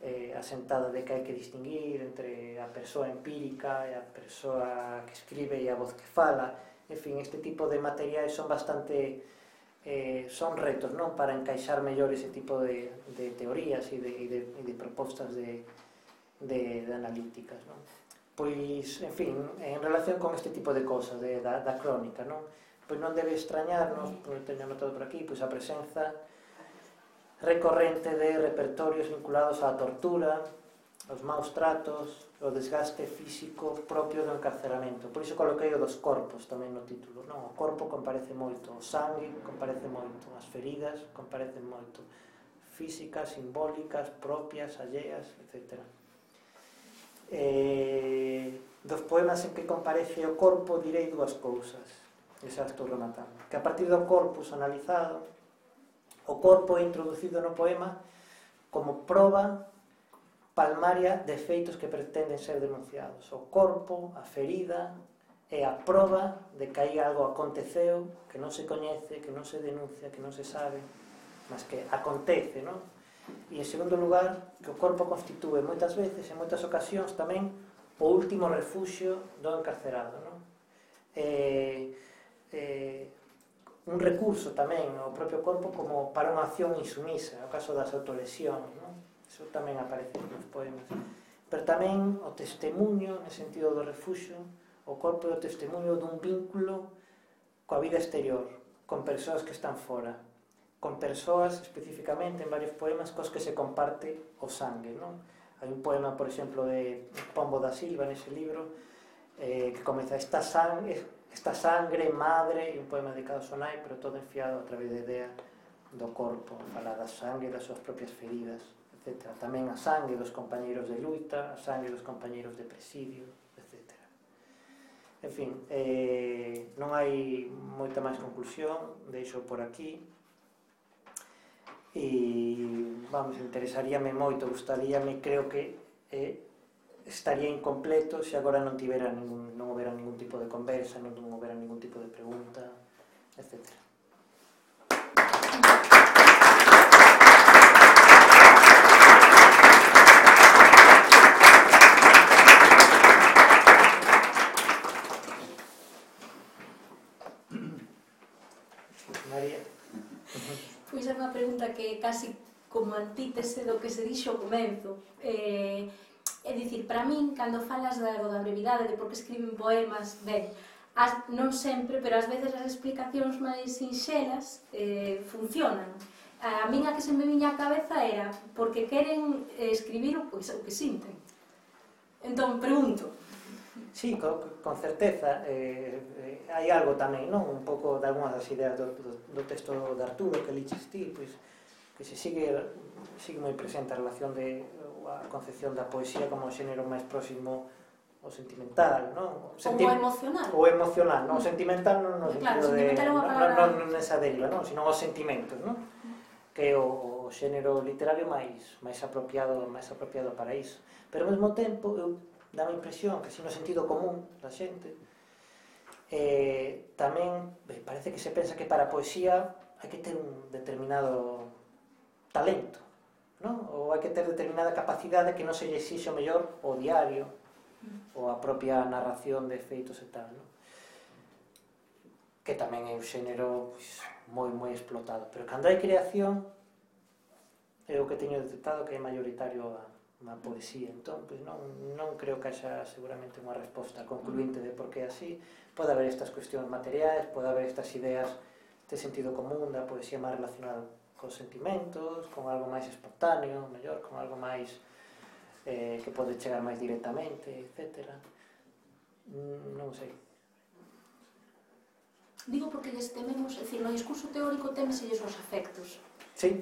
eh, asentada de que hai que distinguir entre a persoa empírica e a persoa que escribe e a voz que fala. En fin, este tipo de materiais son bastante eh, son retos, non, para encaixar mellor ese tipo de, de teorías e de, e de, e de propostas de, de, de analíticas, non? Pois, en fin, en relación con este tipo de cosas de, da, da crónica, non? Pois non debe extrañarnos, pois teño anotado por aquí, pois a presenza recorrente de repertorios vinculados á tortura, os maus tratos, o desgaste físico propio do encarceramento. Por iso coloquei o dos corpos tamén no título, non? O corpo comparece moito, o sangue comparece moito, as feridas comparecen moito, físicas, simbólicas, propias, alleas, etcétera. Eh, dos poemas en que comparece o corpo direi dúas cousas, e xa estou rematando, que a partir do corpus analizado, o corpo é introducido no poema como proba palmaria de feitos que pretenden ser denunciados. O corpo, a ferida, é a proba de que hai algo aconteceu que non se coñece, que non se denuncia, que non se sabe, mas que acontece, non? E, en segundo lugar, que o corpo constitúe moitas veces, en moitas ocasións tamén, o último refuxio do encarcerado, non? Eh, eh, un recurso tamén ao propio corpo como para unha acción insumisa, no caso das autolesións, non? Iso tamén aparece nos poemas. Pero tamén o testemunho, no sentido do refuxio, o corpo é o testemunho dun vínculo coa vida exterior, con persoas que están fora, con persoas, especificamente, en varios poemas, cos que se comparte o sangue, non? Hai un poema, por exemplo, de Pombo da Silva, nese libro, eh, que comeza esta sangre, esta sangre, madre, e un poema dedicado a Sonai, pero todo enfiado a través da idea do corpo, fala da sangre, das súas propias feridas, etcétera. Tamén a sangue dos compañeiros de luita, a sangue dos compañeiros de presidio, etcétera. En fin, eh, non hai moita máis conclusión, deixo por aquí. E, vamos, interesaríame moito, gustaríame, creo que eh, estaría incompleto se agora non tivera ningún, non houbera ningún tipo de conversa, non houbera ningún tipo de pregunta, etcétera. María.
Pois é unha pregunta que casi como antítese do que se dixo ao comenzo. Eh, é dicir, para min, cando falas da, da brevidade, de por que escriben poemas, ben, as, non sempre, pero ás veces as explicacións máis sinxelas eh, funcionan. A min a que se me viña á cabeza era porque queren eh, escribir o, pois, o que sinten. Entón, pregunto.
Sí, con, con certeza. Eh, eh, hai algo tamén, non? Un pouco de algunhas das ideas do, do, do texto de Arturo que liches ti, pois, que se sigue, sigue moi presente a relación de a concepción da poesía como o xénero máis próximo ao sentimental, non? O
Senti... Como emocional.
O emocional, non? O sentimental non no
claro,
sentido de...
Non,
non, non, non nesa deriva, non? Sino os sentimentos, non? Que é o, o xénero literario máis, máis apropiado máis apropiado para iso. Pero ao mesmo tempo, eu dá a impresión que, si no sentido común da xente, eh, tamén eh, parece que se pensa que para a poesía hai que ter un determinado talento, non? Ou hai que ter determinada capacidade que non se lle exixe o mellor o diario ou a propia narración de feitos e tal, non? Que tamén é un xénero pois, moi moi explotado, pero cando hai creación é o que teño detectado que é maioritario a unha poesía. Entón, pois non, non creo que haxa seguramente unha resposta concluinte de por que así. Pode haber estas cuestións materiais, pode haber estas ideas de sentido común da poesía máis relacionada con sentimentos, con algo máis espontáneo, mellor, con algo máis eh, que pode chegar máis directamente, etcétera. Non sei.
Digo porque lles tememos, é dicir, no discurso teórico temeselles os afectos.
Sí.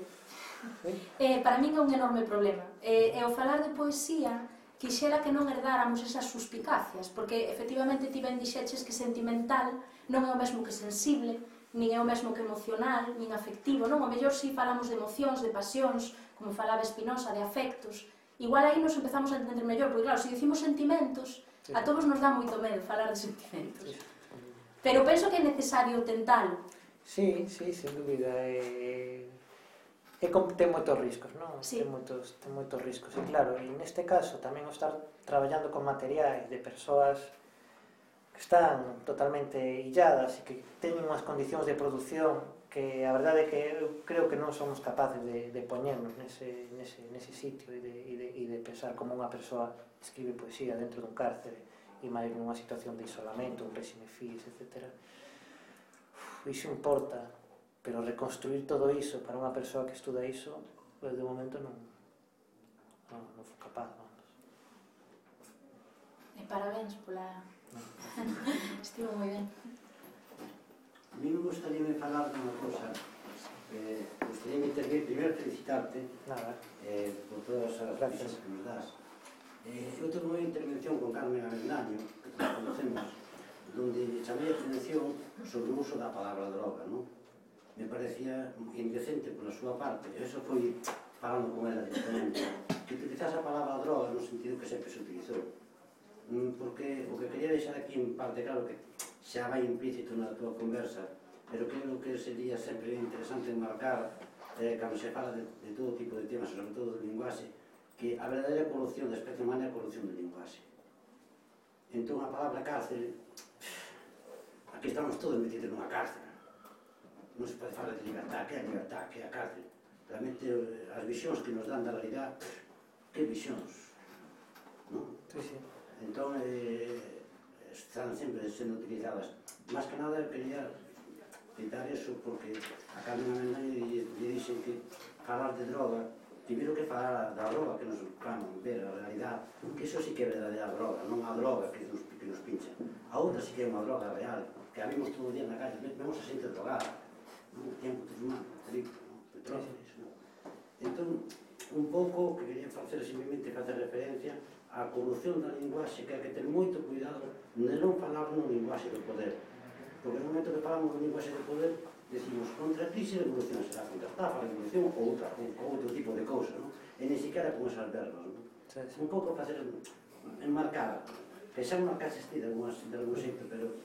Sí.
Eh, para min é un enorme problema. Eh, e ao falar de poesía, quixera que non herdáramos esas suspicacias, porque efectivamente ti ben dixeches que sentimental non é o mesmo que sensible, nin é o mesmo que emocional, nin afectivo, non? O mellor si falamos de emocións, de pasións, como falaba Espinosa, de afectos. Igual aí nos empezamos a entender mellor, porque claro, se dicimos sentimentos, sí, a todos nos dá moito medo falar de sentimentos. Sí. Pero penso que é necesario tentalo.
Sí, sí, sen dúbida. Eh... E ten moitos riscos, non?
Sí.
Ten moitos, ten moitos riscos. E claro, e neste caso tamén o estar traballando con materiais de persoas que están totalmente illadas e que teñen unhas condicións de produción que a verdade é que eu creo que non somos capaces de, de poñernos nese, nese, nese sitio e de, e, de, e de pensar como unha persoa escribe poesía dentro dun cárcere e máis nunha situación de isolamento, un réxime fis, etcétera. Uf, iso importa, pero reconstruir todo iso para unha persoa que estuda iso, pues, de momento non, non, non fui capaz, vamos.
E parabéns pola... Estivo moi ben.
A mí me gustaría me falar de unha cosa. Eh, gustaría me intervir, primeiro felicitarte eh, por todas as noticias que nos das. Eh, eu tengo unha intervención con Carmen Avendaño, que nos conocemos, donde chamei a atención sobre o uso da palabra droga, non? Me parecía indecente pola súa parte, e eso foi falando con ela directamente, que utilizase a palabra droga no sentido que sempre se utilizou. Porque o que quería deixar aquí en parte claro que xa vai implícito na tua conversa, pero creo que sería sempre interesante marcar eh, cando se fala de, de todo tipo de temas, sobre todo do linguaxe, que a verdadeira corrupción da especie humana é a corrupción do linguaxe. Entón a palabra cárcel, aquí estamos todos metidos nunha cárcel. Non se pode falar de libertad, que é a libertad, que é a cárcel. Realmente as visións que nos dan da realidad, que visións, non?
Sí, sí.
Entón, eh, están sempre sendo utilizadas. Más que nada, quería citar eso porque a Carmen Avendaño lle dixen que falar de droga, primeiro que falar da droga que nos van ver a realidad, que eso sí que é verdadeira droga, non a droga que nos, que nos pincha. A outra sí que é unha droga real, que a vimos todo o día na calle, vemos a xente drogada, non? Tiempo de fumar, petróleos, non? Entón, un pouco que quería facer simplemente facer referencia a corrupción da linguaxe, que hai que ter moito cuidado de non falar nun linguaxe de poder, porque no momento que falamos nun linguaxe de poder decimos contra a crise de evolución será contra a estafa, a evolución ou outra, ou outro tipo de cousa, non? E nem siquiera con esas verbas, non? Sí, sí. Un pouco facer enmarcar, que xa enmarcase este de algún xeito, pero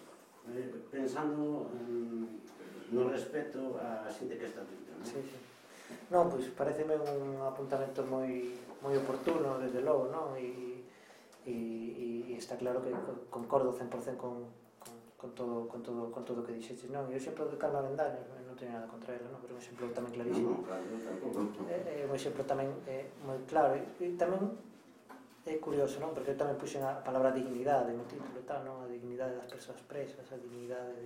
eh, pensando mm, no respeto a xente que está dentro, non?
Sí, sí. Non, pois pareceme un apuntamento moi moi oportuno, desde logo, non? E e está claro que concordo cen por cen con, con, con, todo, con, todo, con todo o que dixeches, non? E o exemplo de Carmen Avendaño, non teño nada contra ela, non? Pero é un exemplo tamén clarísimo. É un exemplo tamén é moi claro. E tamén é curioso, non? Porque eu tamén puxen a palabra dignidade no título, tal, non? A dignidade das persoas presas, a dignidade de...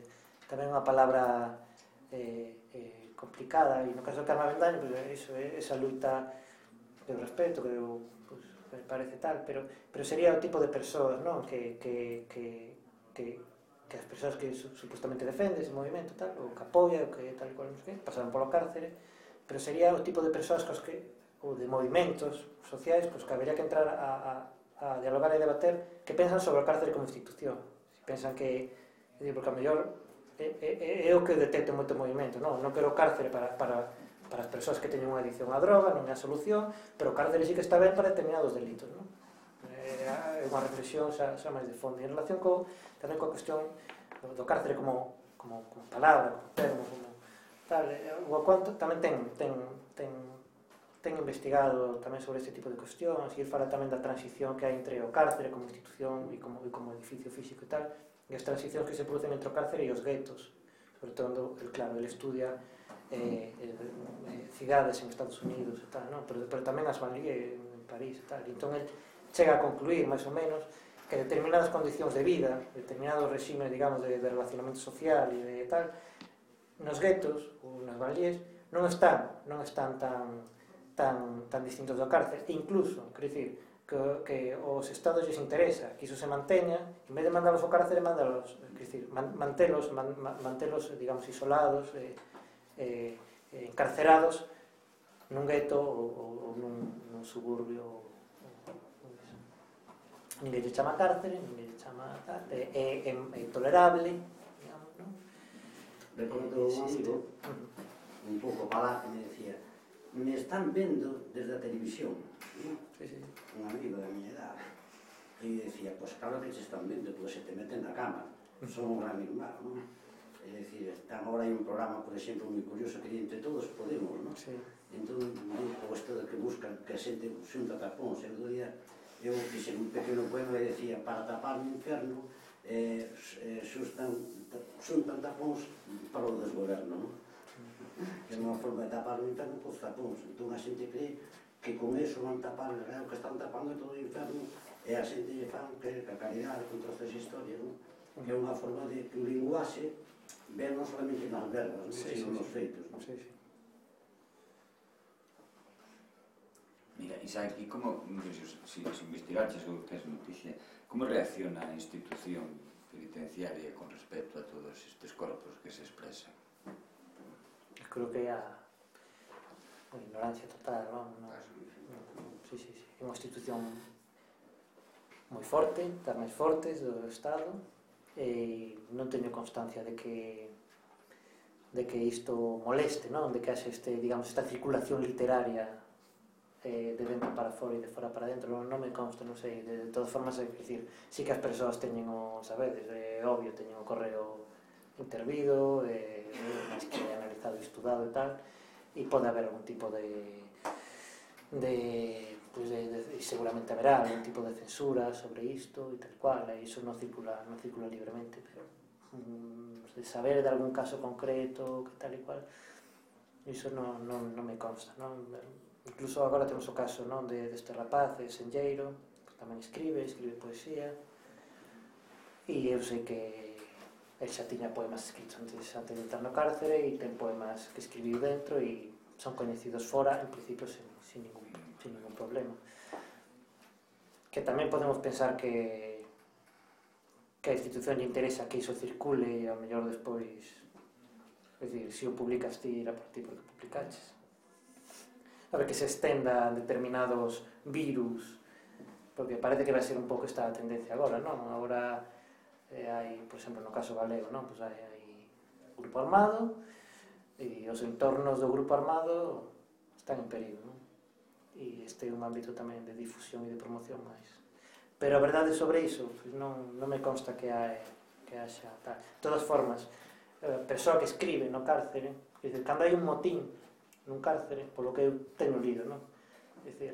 Tamén unha palabra eh, eh, complicada, e no caso de Carmen Avendaño, pues, iso, é esa luita que eu respeto, que eu pues, me parece tal, pero, pero sería o tipo de persoas, non? Que, que, que, que, que as persoas que su, supostamente defende ese movimento, tal, ou que apoia, ou que tal e cual, non sei que, pasaron polo cárcere, pero sería o tipo de persoas cos que, ou de movimentos sociais, pues, que habería que entrar a, a, a dialogar e debater, que pensan sobre o cárcere como institución. Si pensan que, porque a mellor é, é, é o que detecto moito movimento, non? Non quero cárcere para, para, para as persoas que teñen unha adicción á droga, non é a solución, pero o cárcere sí que está ben para determinados delitos, non? É unha reflexión xa, xa máis de fondo. E en relación co, tamén coa cuestión do cárcere como, como, como palabra, como termo, como tal, o Guacuán tamén ten, ten, ten, ten investigado tamén sobre este tipo de cuestións, e ele fala tamén da transición que hai entre o cárcere como institución e como, e como edificio físico e tal, e as transicións que se producen entre o cárcere e os guetos, sobre todo, el, claro, ele estudia eh, eh, cidades en Estados Unidos e tal, non? Pero, pero tamén as banlieue en París e tal, e entón ele chega a concluir, máis ou menos, que determinadas condicións de vida, determinados regimes, digamos, de, de relacionamento social e de tal, nos guetos ou nas banlieus non están, non están tan, tan, tan distintos do cárcere, e incluso, quero dicir, que, que os estados lles interesa que iso se manteña, en vez de mandalos ao cárcere, mandalos, quero dicir, man, mantelos, man, mantelos, digamos, isolados, eh, eh, encarcerados nun gueto ou, ou nun, nun suburbio. Ninguén lle chama cárcere, ninguén lle chama tal, é, é, é intolerable, digamos, non?
Recordo un amigo, un pouco palaz, que me decía, me están vendo desde a televisión, ¿no?
Sí, sí.
Un amigo da miña edad, e decía, pois pues, claro que se están vendo, pois se te meten na cama, son un gran irmán, non? É dicir, agora hai un programa, por exemplo, moi curioso, que Entre Todos Podemos, non?
Sí.
Entón, o isto de que buscan que a xente xunta tapóns, e o día eu fixe un pequeno poema e decía, para tapar o inferno xuntan tapóns para o desgoberno, non? Que é unha forma de tapar o inferno cos tapóns. Entón a xente cree que con eso van tapar, o que están tapando é todo o inferno, e a xente lle fan que a caridade contra estas historias, non? Que é unha forma de que o linguaxe ve non solamente nas verbas, sino nos feitos.
Mira, Isaac, e como, se investigaches ou tes noticia, como reacciona a institución penitenciaria con respecto a todos estes corpos que se expresan?
Creo que é a ignorancia total, non? Sí, sí, sí. É unha institución moi forte, das máis fortes do Estado, e non teño constancia de que de que isto moleste, non? De que haxe este, digamos, esta circulación literaria de dentro para fora e de fora para dentro, non me consta, non sei, de todas formas, é dicir, sí que as persoas teñen o, sabedes, é obvio, teñen o correo intervido, é máis que analizado e estudado e tal, e pode haber algún tipo de de, pues de, de seguramente haberá algún tipo de censura sobre isto e tal cual, e iso non circula, non circula libremente, pero um, de saber de algún caso concreto, que tal e cual, iso non, non, non me consta, non? Incluso agora temos o caso, non, de deste rapaz, de Senlleiro, que tamén escribe, escribe poesía, e eu sei que el xa tiña poemas escritos antes, antes de entrar no cárcere, e ten poemas que escribiu dentro e son coñecidos fora, en principio, sin, sin, ningún, sin ningún problema. Que tamén podemos pensar que que a institución lle interesa que iso circule, e ao mellor despois, é dicir, se o publicas ti, era por ti porque publicaches. A ver, que se estenda determinados virus, porque parece que vai ser un pouco esta tendencia agora, non? Agora eh, hai, por exemplo, no caso galego, non? Pues hai, hai grupo armado e os entornos do grupo armado están en perigo, non? E este é un ámbito tamén de difusión e de promoción máis. Pero a verdade sobre iso, pues non, non me consta que hai, que haxa tal. De todas formas, a persoa que escribe no cárcere, é dicir, cando hai un motín nun cárcere, polo que eu teño lido, non? É dicir,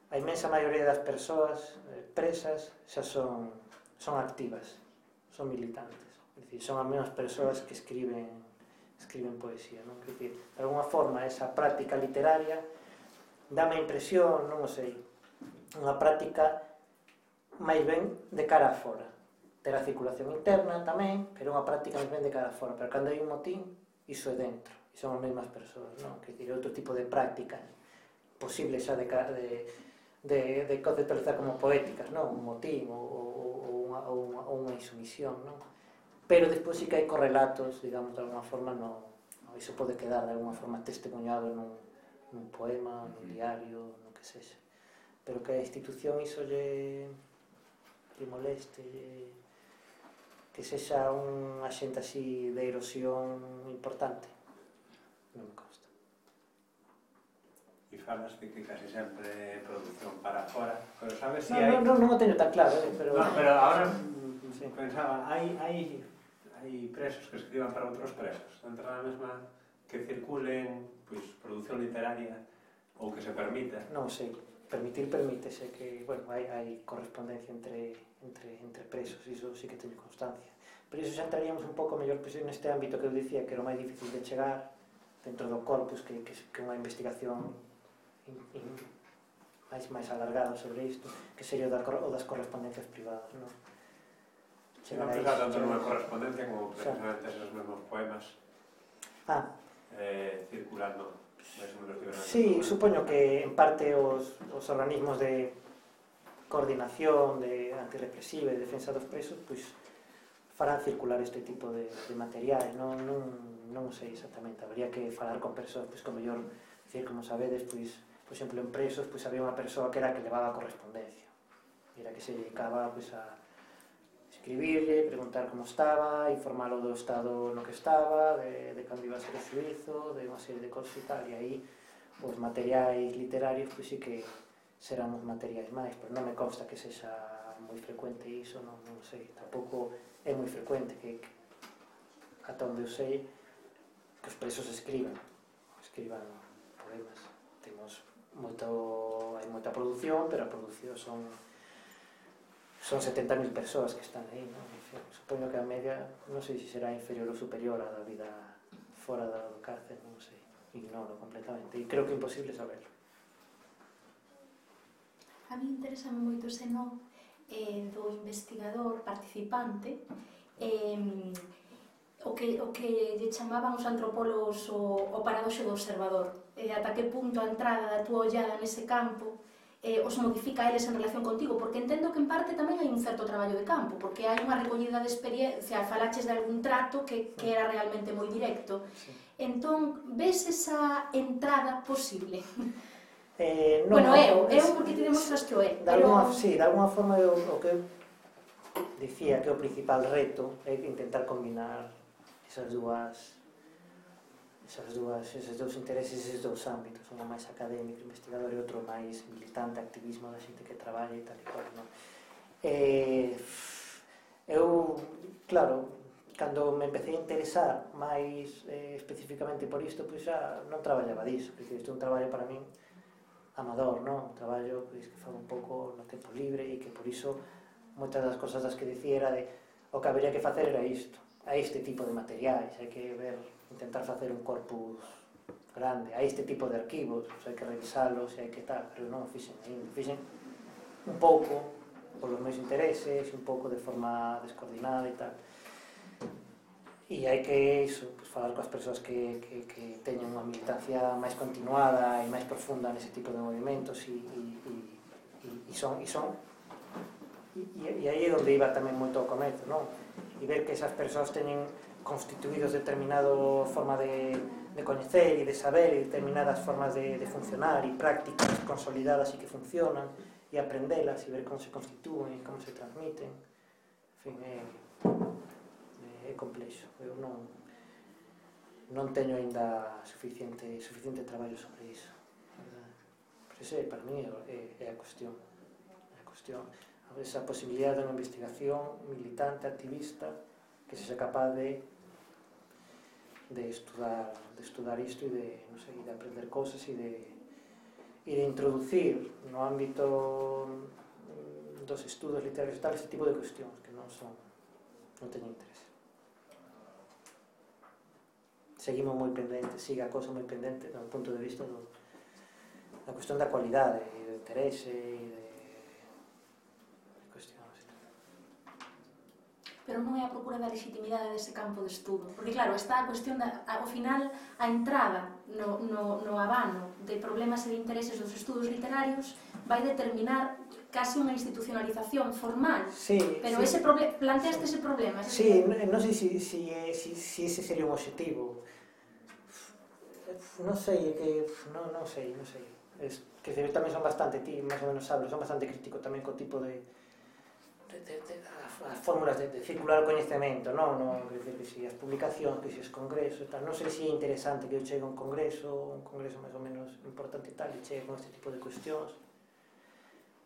a inmensa maioría das persoas eh, presas xa son, son activas, son militantes. É dicir, son as mesmas persoas que escriben, escriben poesía, non? É dicir, de alguna forma, esa práctica literaria dame a impresión, non o sei, unha práctica máis ben de cara a fora. Ter a circulación interna tamén, pero unha práctica máis ben de cara a fora. Pero cando hai un motín, iso é dentro. E son as mesmas persoas, non? Quer dizer, outro tipo de prácticas posible xa de, de, de, de conceptualizar como poéticas, non? Un motín ou, ou, unha, ou, unha, ou unha insumisión, non? Pero despois sí que hai correlatos, digamos, de alguna forma, no, no, iso pode quedar de alguna forma testemunhado nun, nun poema, nun diario, no que sexa. Pero que a institución iso lle, lle moleste, lle, que sexa un axente así de erosión importante. Non me consta.
E falas de que casi sempre é produción para fora, pero sabes se
no,
hai...
Non, non, non o teño tan claro, eh, pero...
No, pero ahora
sí.
Pensaba, hai, hai, hai presos que escriban para outros presos, dentro da mesma que circulen, pois, produción literaria ou que se permita.
Non sei, permitir permítese que, bueno, hai, hai correspondencia entre, entre, entre presos, iso sí que teño constancia. Pero iso xa entraríamos un pouco mellor pues, neste ámbito que eu dicía que era o máis difícil de chegar dentro do corpus, que, que, que unha investigación in, in, máis, máis alargada sobre isto, que sería o, da, o das correspondencias privadas, non?
Non pensar tanto nunha correspondencia como precisamente esos mesmos poemas
ah.
eh, circulando máis ou menos libremente.
Sí, supoño que en parte os, os organismos de coordinación, de antirrepresiva e defensa dos presos, pois farán circular este tipo de, de materiais, non, non, non sei exactamente, habría que falar con persoas, pois como mellor, decir, como sabedes, pois, por exemplo, en presos, pois había unha persoa que era que levaba a correspondencia, era que se dedicaba, pois, a escribirle, preguntar como estaba, informarlo do estado no que estaba, de, de cando iba a ser o xuízo, de unha serie de cosas e tal, e aí, os materiais literarios, pois sí que serán os materiais máis, pero non me consta que sexa moi frecuente iso, non, non sei, tampouco é moi frecuente que, que ata onde eu sei que os presos escriban escriban poemas. Temos moito, hai moita produción, pero a produción son son setenta mil persoas que están aí, non? Supoño que a media, non sei se será inferior ou superior á da vida fora do cárcel, non sei, ignoro completamente, e creo que é imposible saberlo.
A mí interésame moito ese non eh, do investigador participante, eh, o que, o que lle chamaban os antropólogos o, o paradoxo do observador, e ata que punto a entrada da túa ollada nese campo eh, os modifica eles en relación contigo, porque entendo que en parte tamén hai un certo traballo de campo, porque hai unha recollida de experiencia, falaches de algún trato que, que era realmente moi directo. Sí. Entón, ves esa entrada posible?
Eh, non,
bueno, eu, eu porque te demostras que o é, pero...
Alguna, sí, de alguna forma eu, o que dicía que o principal reto é intentar combinar esas dúas esas dúas, eses dous intereses, eses dous ámbitos, unha máis académico, investigador e outro máis militante, activismo da xente que traballa e tal e cual, non? Eh, eu, claro, cando me empecé a interesar máis eh, especificamente por isto, pois xa non traballaba disso, porque isto é un traballo para min amador, non? Un traballo pois, que fago un pouco no tempo libre e que por iso moitas das cosas das que dicía era de o que habería que facer era isto, a este tipo de materiais, hai que ver, intentar facer un corpus grande, a este tipo de arquivos, hai que revisalos e hai que tal, pero non fixen ainda, fixen un pouco polos meus intereses, un pouco de forma descoordinada e tal. E hai que iso, pues, falar coas persoas que, que, que teñen unha militancia máis continuada e máis profunda nese tipo de movimentos e, e, e, e son, e son e, e aí é onde iba tamén moito ao comezo, non? E ver que esas persoas teñen constituídos determinada forma de, de coñecer e de saber e determinadas formas de, de funcionar e prácticas consolidadas e que funcionan e aprendelas e ver como se constitúen e como se transmiten. En fin, é, é complexo. Eu non, non teño aínda suficiente, suficiente traballo sobre iso. Pero ese, para mí, é, é a cuestión. É a cuestión. Esa posibilidade de unha investigación militante, activista, que sexa capaz de de estudar, de estudar isto e de, non sei, de aprender cousas e de, e de introducir no ámbito dos estudos literarios e tal, este tipo de cuestións que non son, non teñen interés. Seguimos moi pendentes, siga a cosa moi pendente do punto de vista do, da cuestión da cualidade e do interese e de
pero non é a procura da legitimidade dese campo de estudo, porque claro, está a cuestión da, ao final, a entrada no, no, no abano de problemas e de intereses dos estudos literarios vai determinar casi unha institucionalización formal,
sí,
pero
sí.
ese proble- planteaste ese problema.
Sí, non no sei si, si, si, si ese sería un objetivo, non sei, é que non, non sei, non sei, es, que tamén son bastante, ti máis ou menos sabes, son bastante crítico tamén co tipo de De, de, de, as fórmulas de, de circular o coñecemento, non? non quer dizer que si as publicacións, que si os congresos e tal, non sei se é interesante que eu chegue a un congreso, un congreso máis ou menos importante e tal, e chegue con este tipo de cuestións,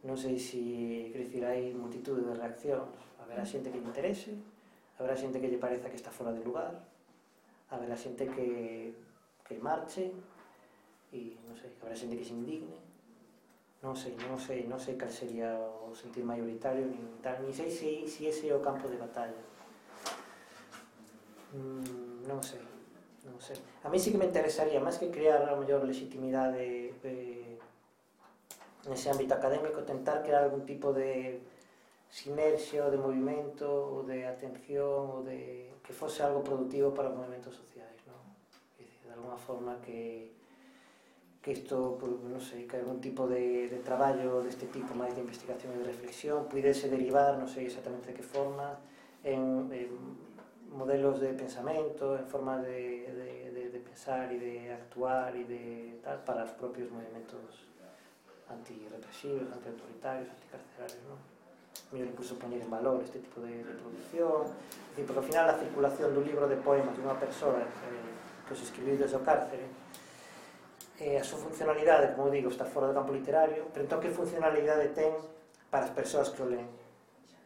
non sei se, quer dizer, hai multitude de reaccións, haberá xente que lle interese, haberá xente que lle pareza que está fora de lugar, haberá xente que, que marche, e non sei, haberá xente que se indigne. Non sei, non sei, non sei cal sería o sentir maioritario, nin tal, nin sei se, se ese é o campo de batalla. Mm, non sei, non sei. A mí sí que me interesaría, máis que crear a mellor legitimidade eh, nese ámbito académico, tentar crear algún tipo de sinerxia ou de movimento ou de atención ou de que fose algo productivo para os movimentos sociais, non? É dicir, de alguna forma que que isto, non sei, que algún tipo de, de traballo deste tipo máis de investigación e de reflexión pudese derivar, non sei exactamente de que forma, en, en modelos de pensamento, en formas de, de, de, de pensar e de actuar e de tal, para os propios movimentos antirrepresivos, antiautoritarios, anticarcelarios, non? Mellor incluso poñer en valor este tipo de, de producción, é dicir, porque ao final a circulación dun libro de poemas de unha persoa eh, que os escribiu desde o cárcere, eh, a súa funcionalidade, como digo, está fora do campo literario, pero entón que funcionalidade ten para as persoas que o leen?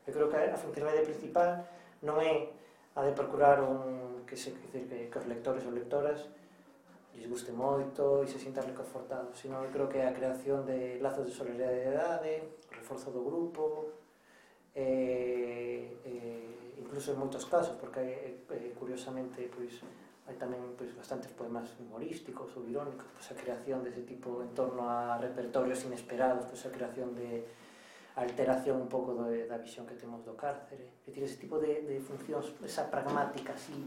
Eu creo que a funcionalidade principal non é a de procurar un, que, se, que, que, que os lectores ou lectoras lles guste moito e se sintan reconfortados, sino eu creo que é a creación de lazos de solidariedade, o reforzo do grupo, eh, eh, incluso en moitos casos, porque eh, curiosamente pois, hai tamén pois, bastantes poemas humorísticos ou irónicos, pois, a creación dese tipo en torno a repertorios inesperados, pois, a creación de alteración un pouco do, da visión que temos do cárcere, é dicir, ese tipo de, de funcións, esa pragmática así,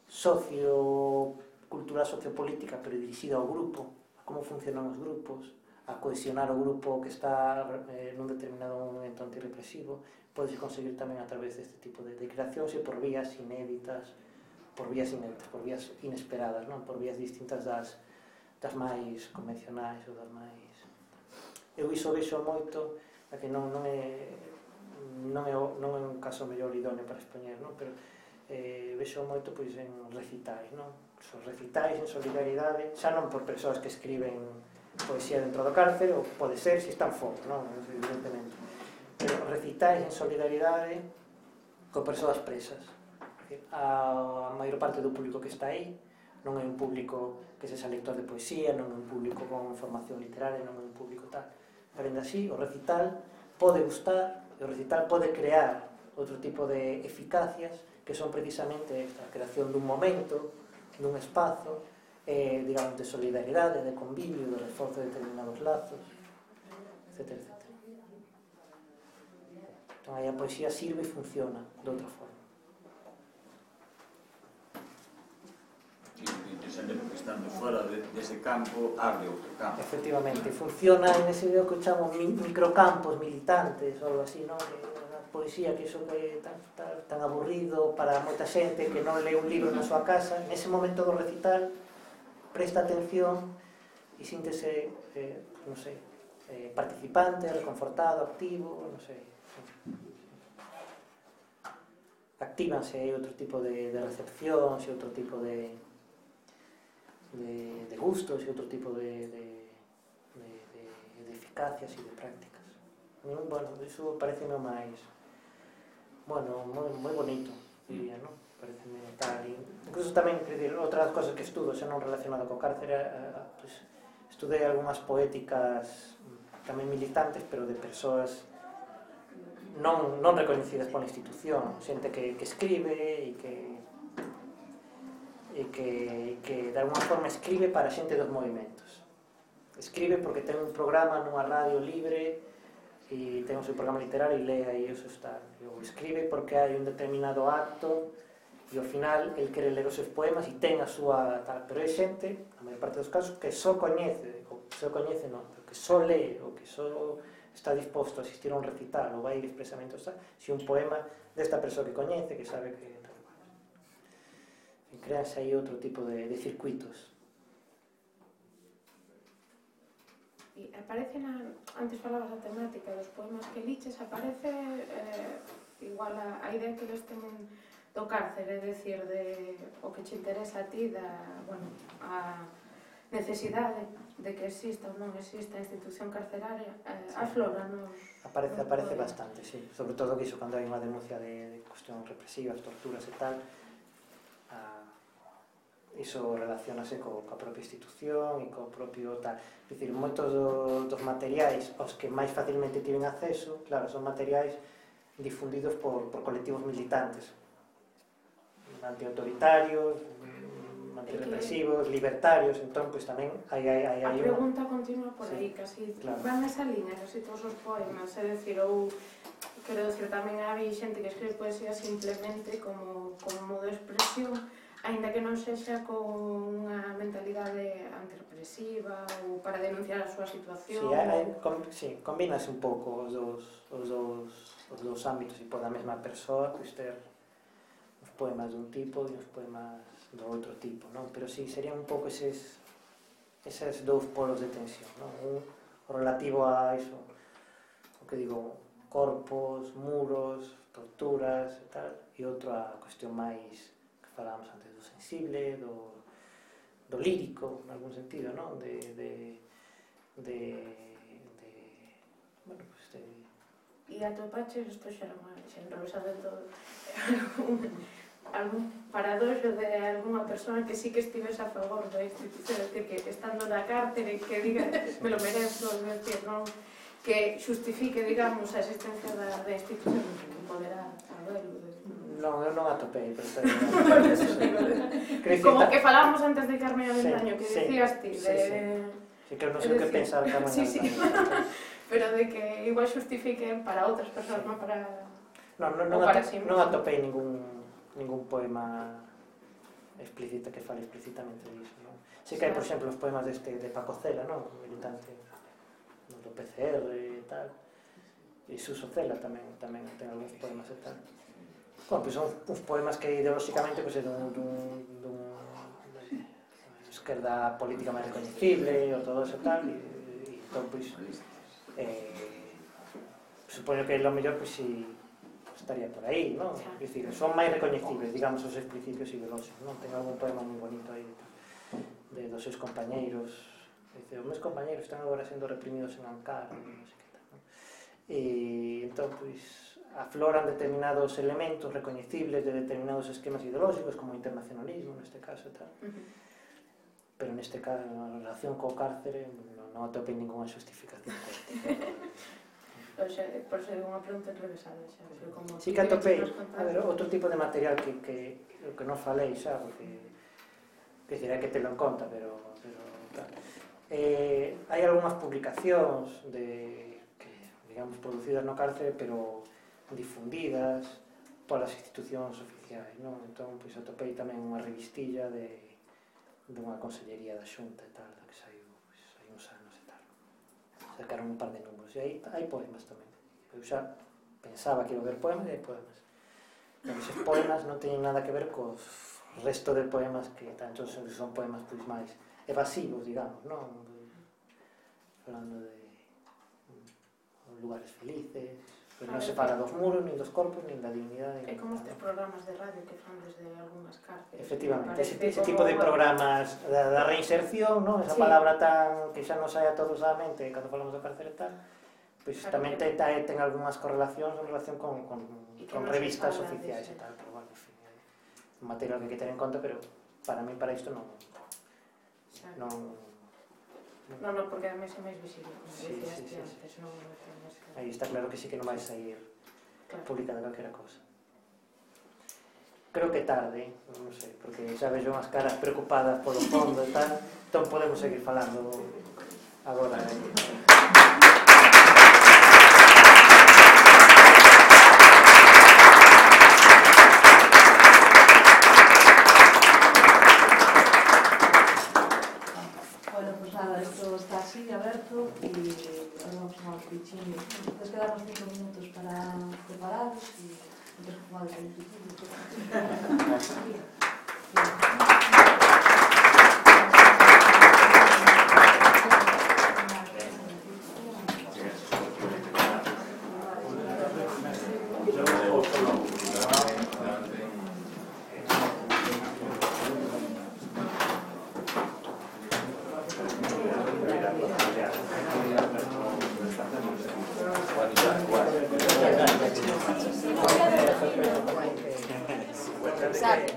sociocultural, sociopolítica, pero dirixida ao grupo, a como funcionan os grupos, a cohesionar o grupo que está eh, nun determinado momento antirrepresivo, podes conseguir tamén a través deste tipo de, de creacións e por vías inéditas, por vías inéditas, por vías inesperadas, non? Por vías distintas das, das máis convencionais ou das máis... Eu iso vexo moito, a que non, non é non é, non é un caso mellor idóneo para expoñer, non? Pero eh, vexo moito pois, en recitais, non? Son recitais en solidaridade, xa non por persoas que escriben poesía dentro do cárcere, ou pode ser se están fora, non? Evidentemente. Pero recitais en solidaridade con persoas presas. A maior parte do público que está aí non é un público que sexa lector de poesía, non é un público con formación literaria, non é un público tal. Pero ainda así, o recital pode gustar, e o recital pode crear outro tipo de eficacias que son precisamente esta creación dun momento, dun espazo, eh, digamos, de solidaridade, de convivio, de reforzo de determinados lazos, etcétera, etcétera. Entón, aí a poesía sirve e funciona de outra forma.
Interesante porque estando fora dese campo abre outro campo.
Efectivamente, funciona en ese que eu chamo microcampos militantes ou algo así, non? Que a poesía, que iso que é tan, tan, tan aburrido para moita xente que non lee un libro na súa casa, nese momento do recital presta atención e síntese, eh, non sei, eh, participante, reconfortado, activo, non sei. Actívanse outro tipo de, de recepcións e outro tipo de De, de gustos e outro tipo de, de, de, de, de eficacias e de prácticas. Bueno, iso pareceme máis, bueno, moi, moi bonito, diría, non? Pareceme tal, e incluso tamén, quer dizer, outras cosas que estudo, xa non relacionado co cárcere, eh, pues, estudei algunhas poéticas tamén militantes, pero de persoas non, non recoñecidas pola institución, xente que, que escribe e que e que, que de alguna forma escribe para a xente dos movimentos. Escribe porque ten un programa nunha radio libre e ten o seu programa literario e lee aí o seu estado. Ou escribe porque hai un determinado acto e ao final el quere ler os seus poemas e ten a súa tal. Pero hai xente, a maior parte dos casos, que só coñece, ou só coñece non, pero que só lee ou que só está disposto a asistir a un recital ou vai ir expresamente a si un poema desta persoa que coñece, que sabe que creanse aí outro tipo de, de circuitos.
E aparece na, antes falabas a temática dos poemas que liches, aparece eh, igual a, a idea que eles temen do cárcere, é dicir, de o que che interesa a ti, da, bueno, a necesidade de que exista ou non exista a institución carceraria, eh, sí. Aflora nos...
Aparece, aparece bastante, sí. Sobre todo que iso cando hai unha denuncia de, de cuestións represivas, torturas e tal, iso relacionase co, coa propia institución e co propio tal. É dicir, moitos do, dos materiais aos que máis facilmente tiven acceso, claro, son materiais difundidos por, por colectivos militantes, antiautoritarios, antirrepresivos, libertarios, entón, pois tamén hai... hai, hai, hai
a pregunta una... continua por aí, sí, casi claro. Van nesa liña, casi todos os poemas, é dicir, ou, quero dicir, tamén hai xente que escribe poesía simplemente como, como modo de expresión, aínda que non sexa con unha mentalidade antirrepresiva ou para denunciar a súa situación.
Sí, hai, com, sí, combínase un pouco os dous, os dous, os dous ámbitos e por a mesma persoa pois ter os poemas dun tipo e os poemas do outro tipo, non? Pero sí, serían un pouco eses, eses dous polos de tensión, non? Un relativo a iso, o que digo, corpos, muros, torturas e tal, e outro a cuestión máis que falábamos antes, do sensible, do, do lírico, en algún sentido, non? De, de, de, de bueno, pues de...
E atopaches, isto xa era unha xenrosa de todo, algún paradoxo de algunha persona que sí que estivese a favor da institución, de que estando na cárcere que diga, me lo merezo, decir, non, que justifique, digamos, a existencia da, da institución, que poderá habelo.
Non, eu non atopei, pero está
como que falábamos antes de Carmen Avendaño, que
sí,
decías ti,
sí,
de...
sí. Sí, que eu non sei o que pensar Carmen
sí, sí.
Avendaño.
Pero de que igual justifiquen para outras persoas, non para...
Non, non, non,
para
atopei,
sí
non atopei ningún, ningún poema explícita que fale explícitamente disso, non? Sí que hai, por exemplo, os poemas deste de Paco Cela, non? Militante do P C R e tal. E Suso Cela tamén, tamén ten algúns poemas e tal. Bueno, pois son uns poemas que ideolóxicamente pois, é dun, dun, dun esquerda política máis recoñecible ou todo eso tal, e, e entón, pois, eh, supoño que lo mellor, pois, si estaría por aí, non? É dicir, son máis recoñecibles, digamos, os principios ideolóxicos, non? Ten algún poema moi bonito aí de dos seus compañeiros, dice, os meus compañeiros están agora sendo reprimidos en Ankara, non sei que tal, non? E entón, pois, afloran determinados elementos recoñecibles de determinados esquemas ideolóxicos, como o internacionalismo, neste caso, e tal. Pero neste caso, na relación co cárcere, non, non atopei ninguna justificación.
Por ser unha pregunta enrevesada, xa.
Sí que atopei, a ver, outro tipo de material que, que, que non falei xa, porque, que dirá que telo en conta, pero, pero claro. Eh, hai algunhas publicacións de, que, digamos, producidas no cárcere, pero difundidas polas institucións oficiais, non? Entón, pois, atopei tamén unha revistilla de dunha consellería da Xunta e tal, da que saiu, pois, hai uns anos e tal. Sacaron un par de números, e aí hai poemas tamén. Eu xa pensaba que iba a haber poemas e hai poemas. Pero esos poemas non teñen nada que ver co resto de poemas que tanto son, son poemas pois máis evasivos, digamos, non? Falando de lugares felices, pues non se fala dos muros, nin dos corpos, nin da dignidade.
É como estes programas de radio que fan desde algunhas cárceles.
Efectivamente, ese, ese tipo de programas da, da reinserción, non? Esa sí. Palabra tan que xa nos sai a todos a mente cando falamos do cárcere e tal, pois pues, tamén ten, ten algunhas correlacións en relación con, con, con revistas oficiais e tal, pero bueno, en fin, é un material que hai que ter en conta, pero para mí, para isto non... non
Non, non, porque ademais é máis visible, como
sí,
decías
sí, sí,
antes,
sí,
non...
Aí está claro que sí que non vai sair claro. Publicada calquera cosa. Creo que tarde, non sei, porque xa vexo unhas caras preocupadas polo fondo e tal, entón podemos seguir falando agora.
Esto está así abierto y vamos a los pichines. Entonces quedamos cinco minutos para preparados y entonces jugamos el pichín. Exacto.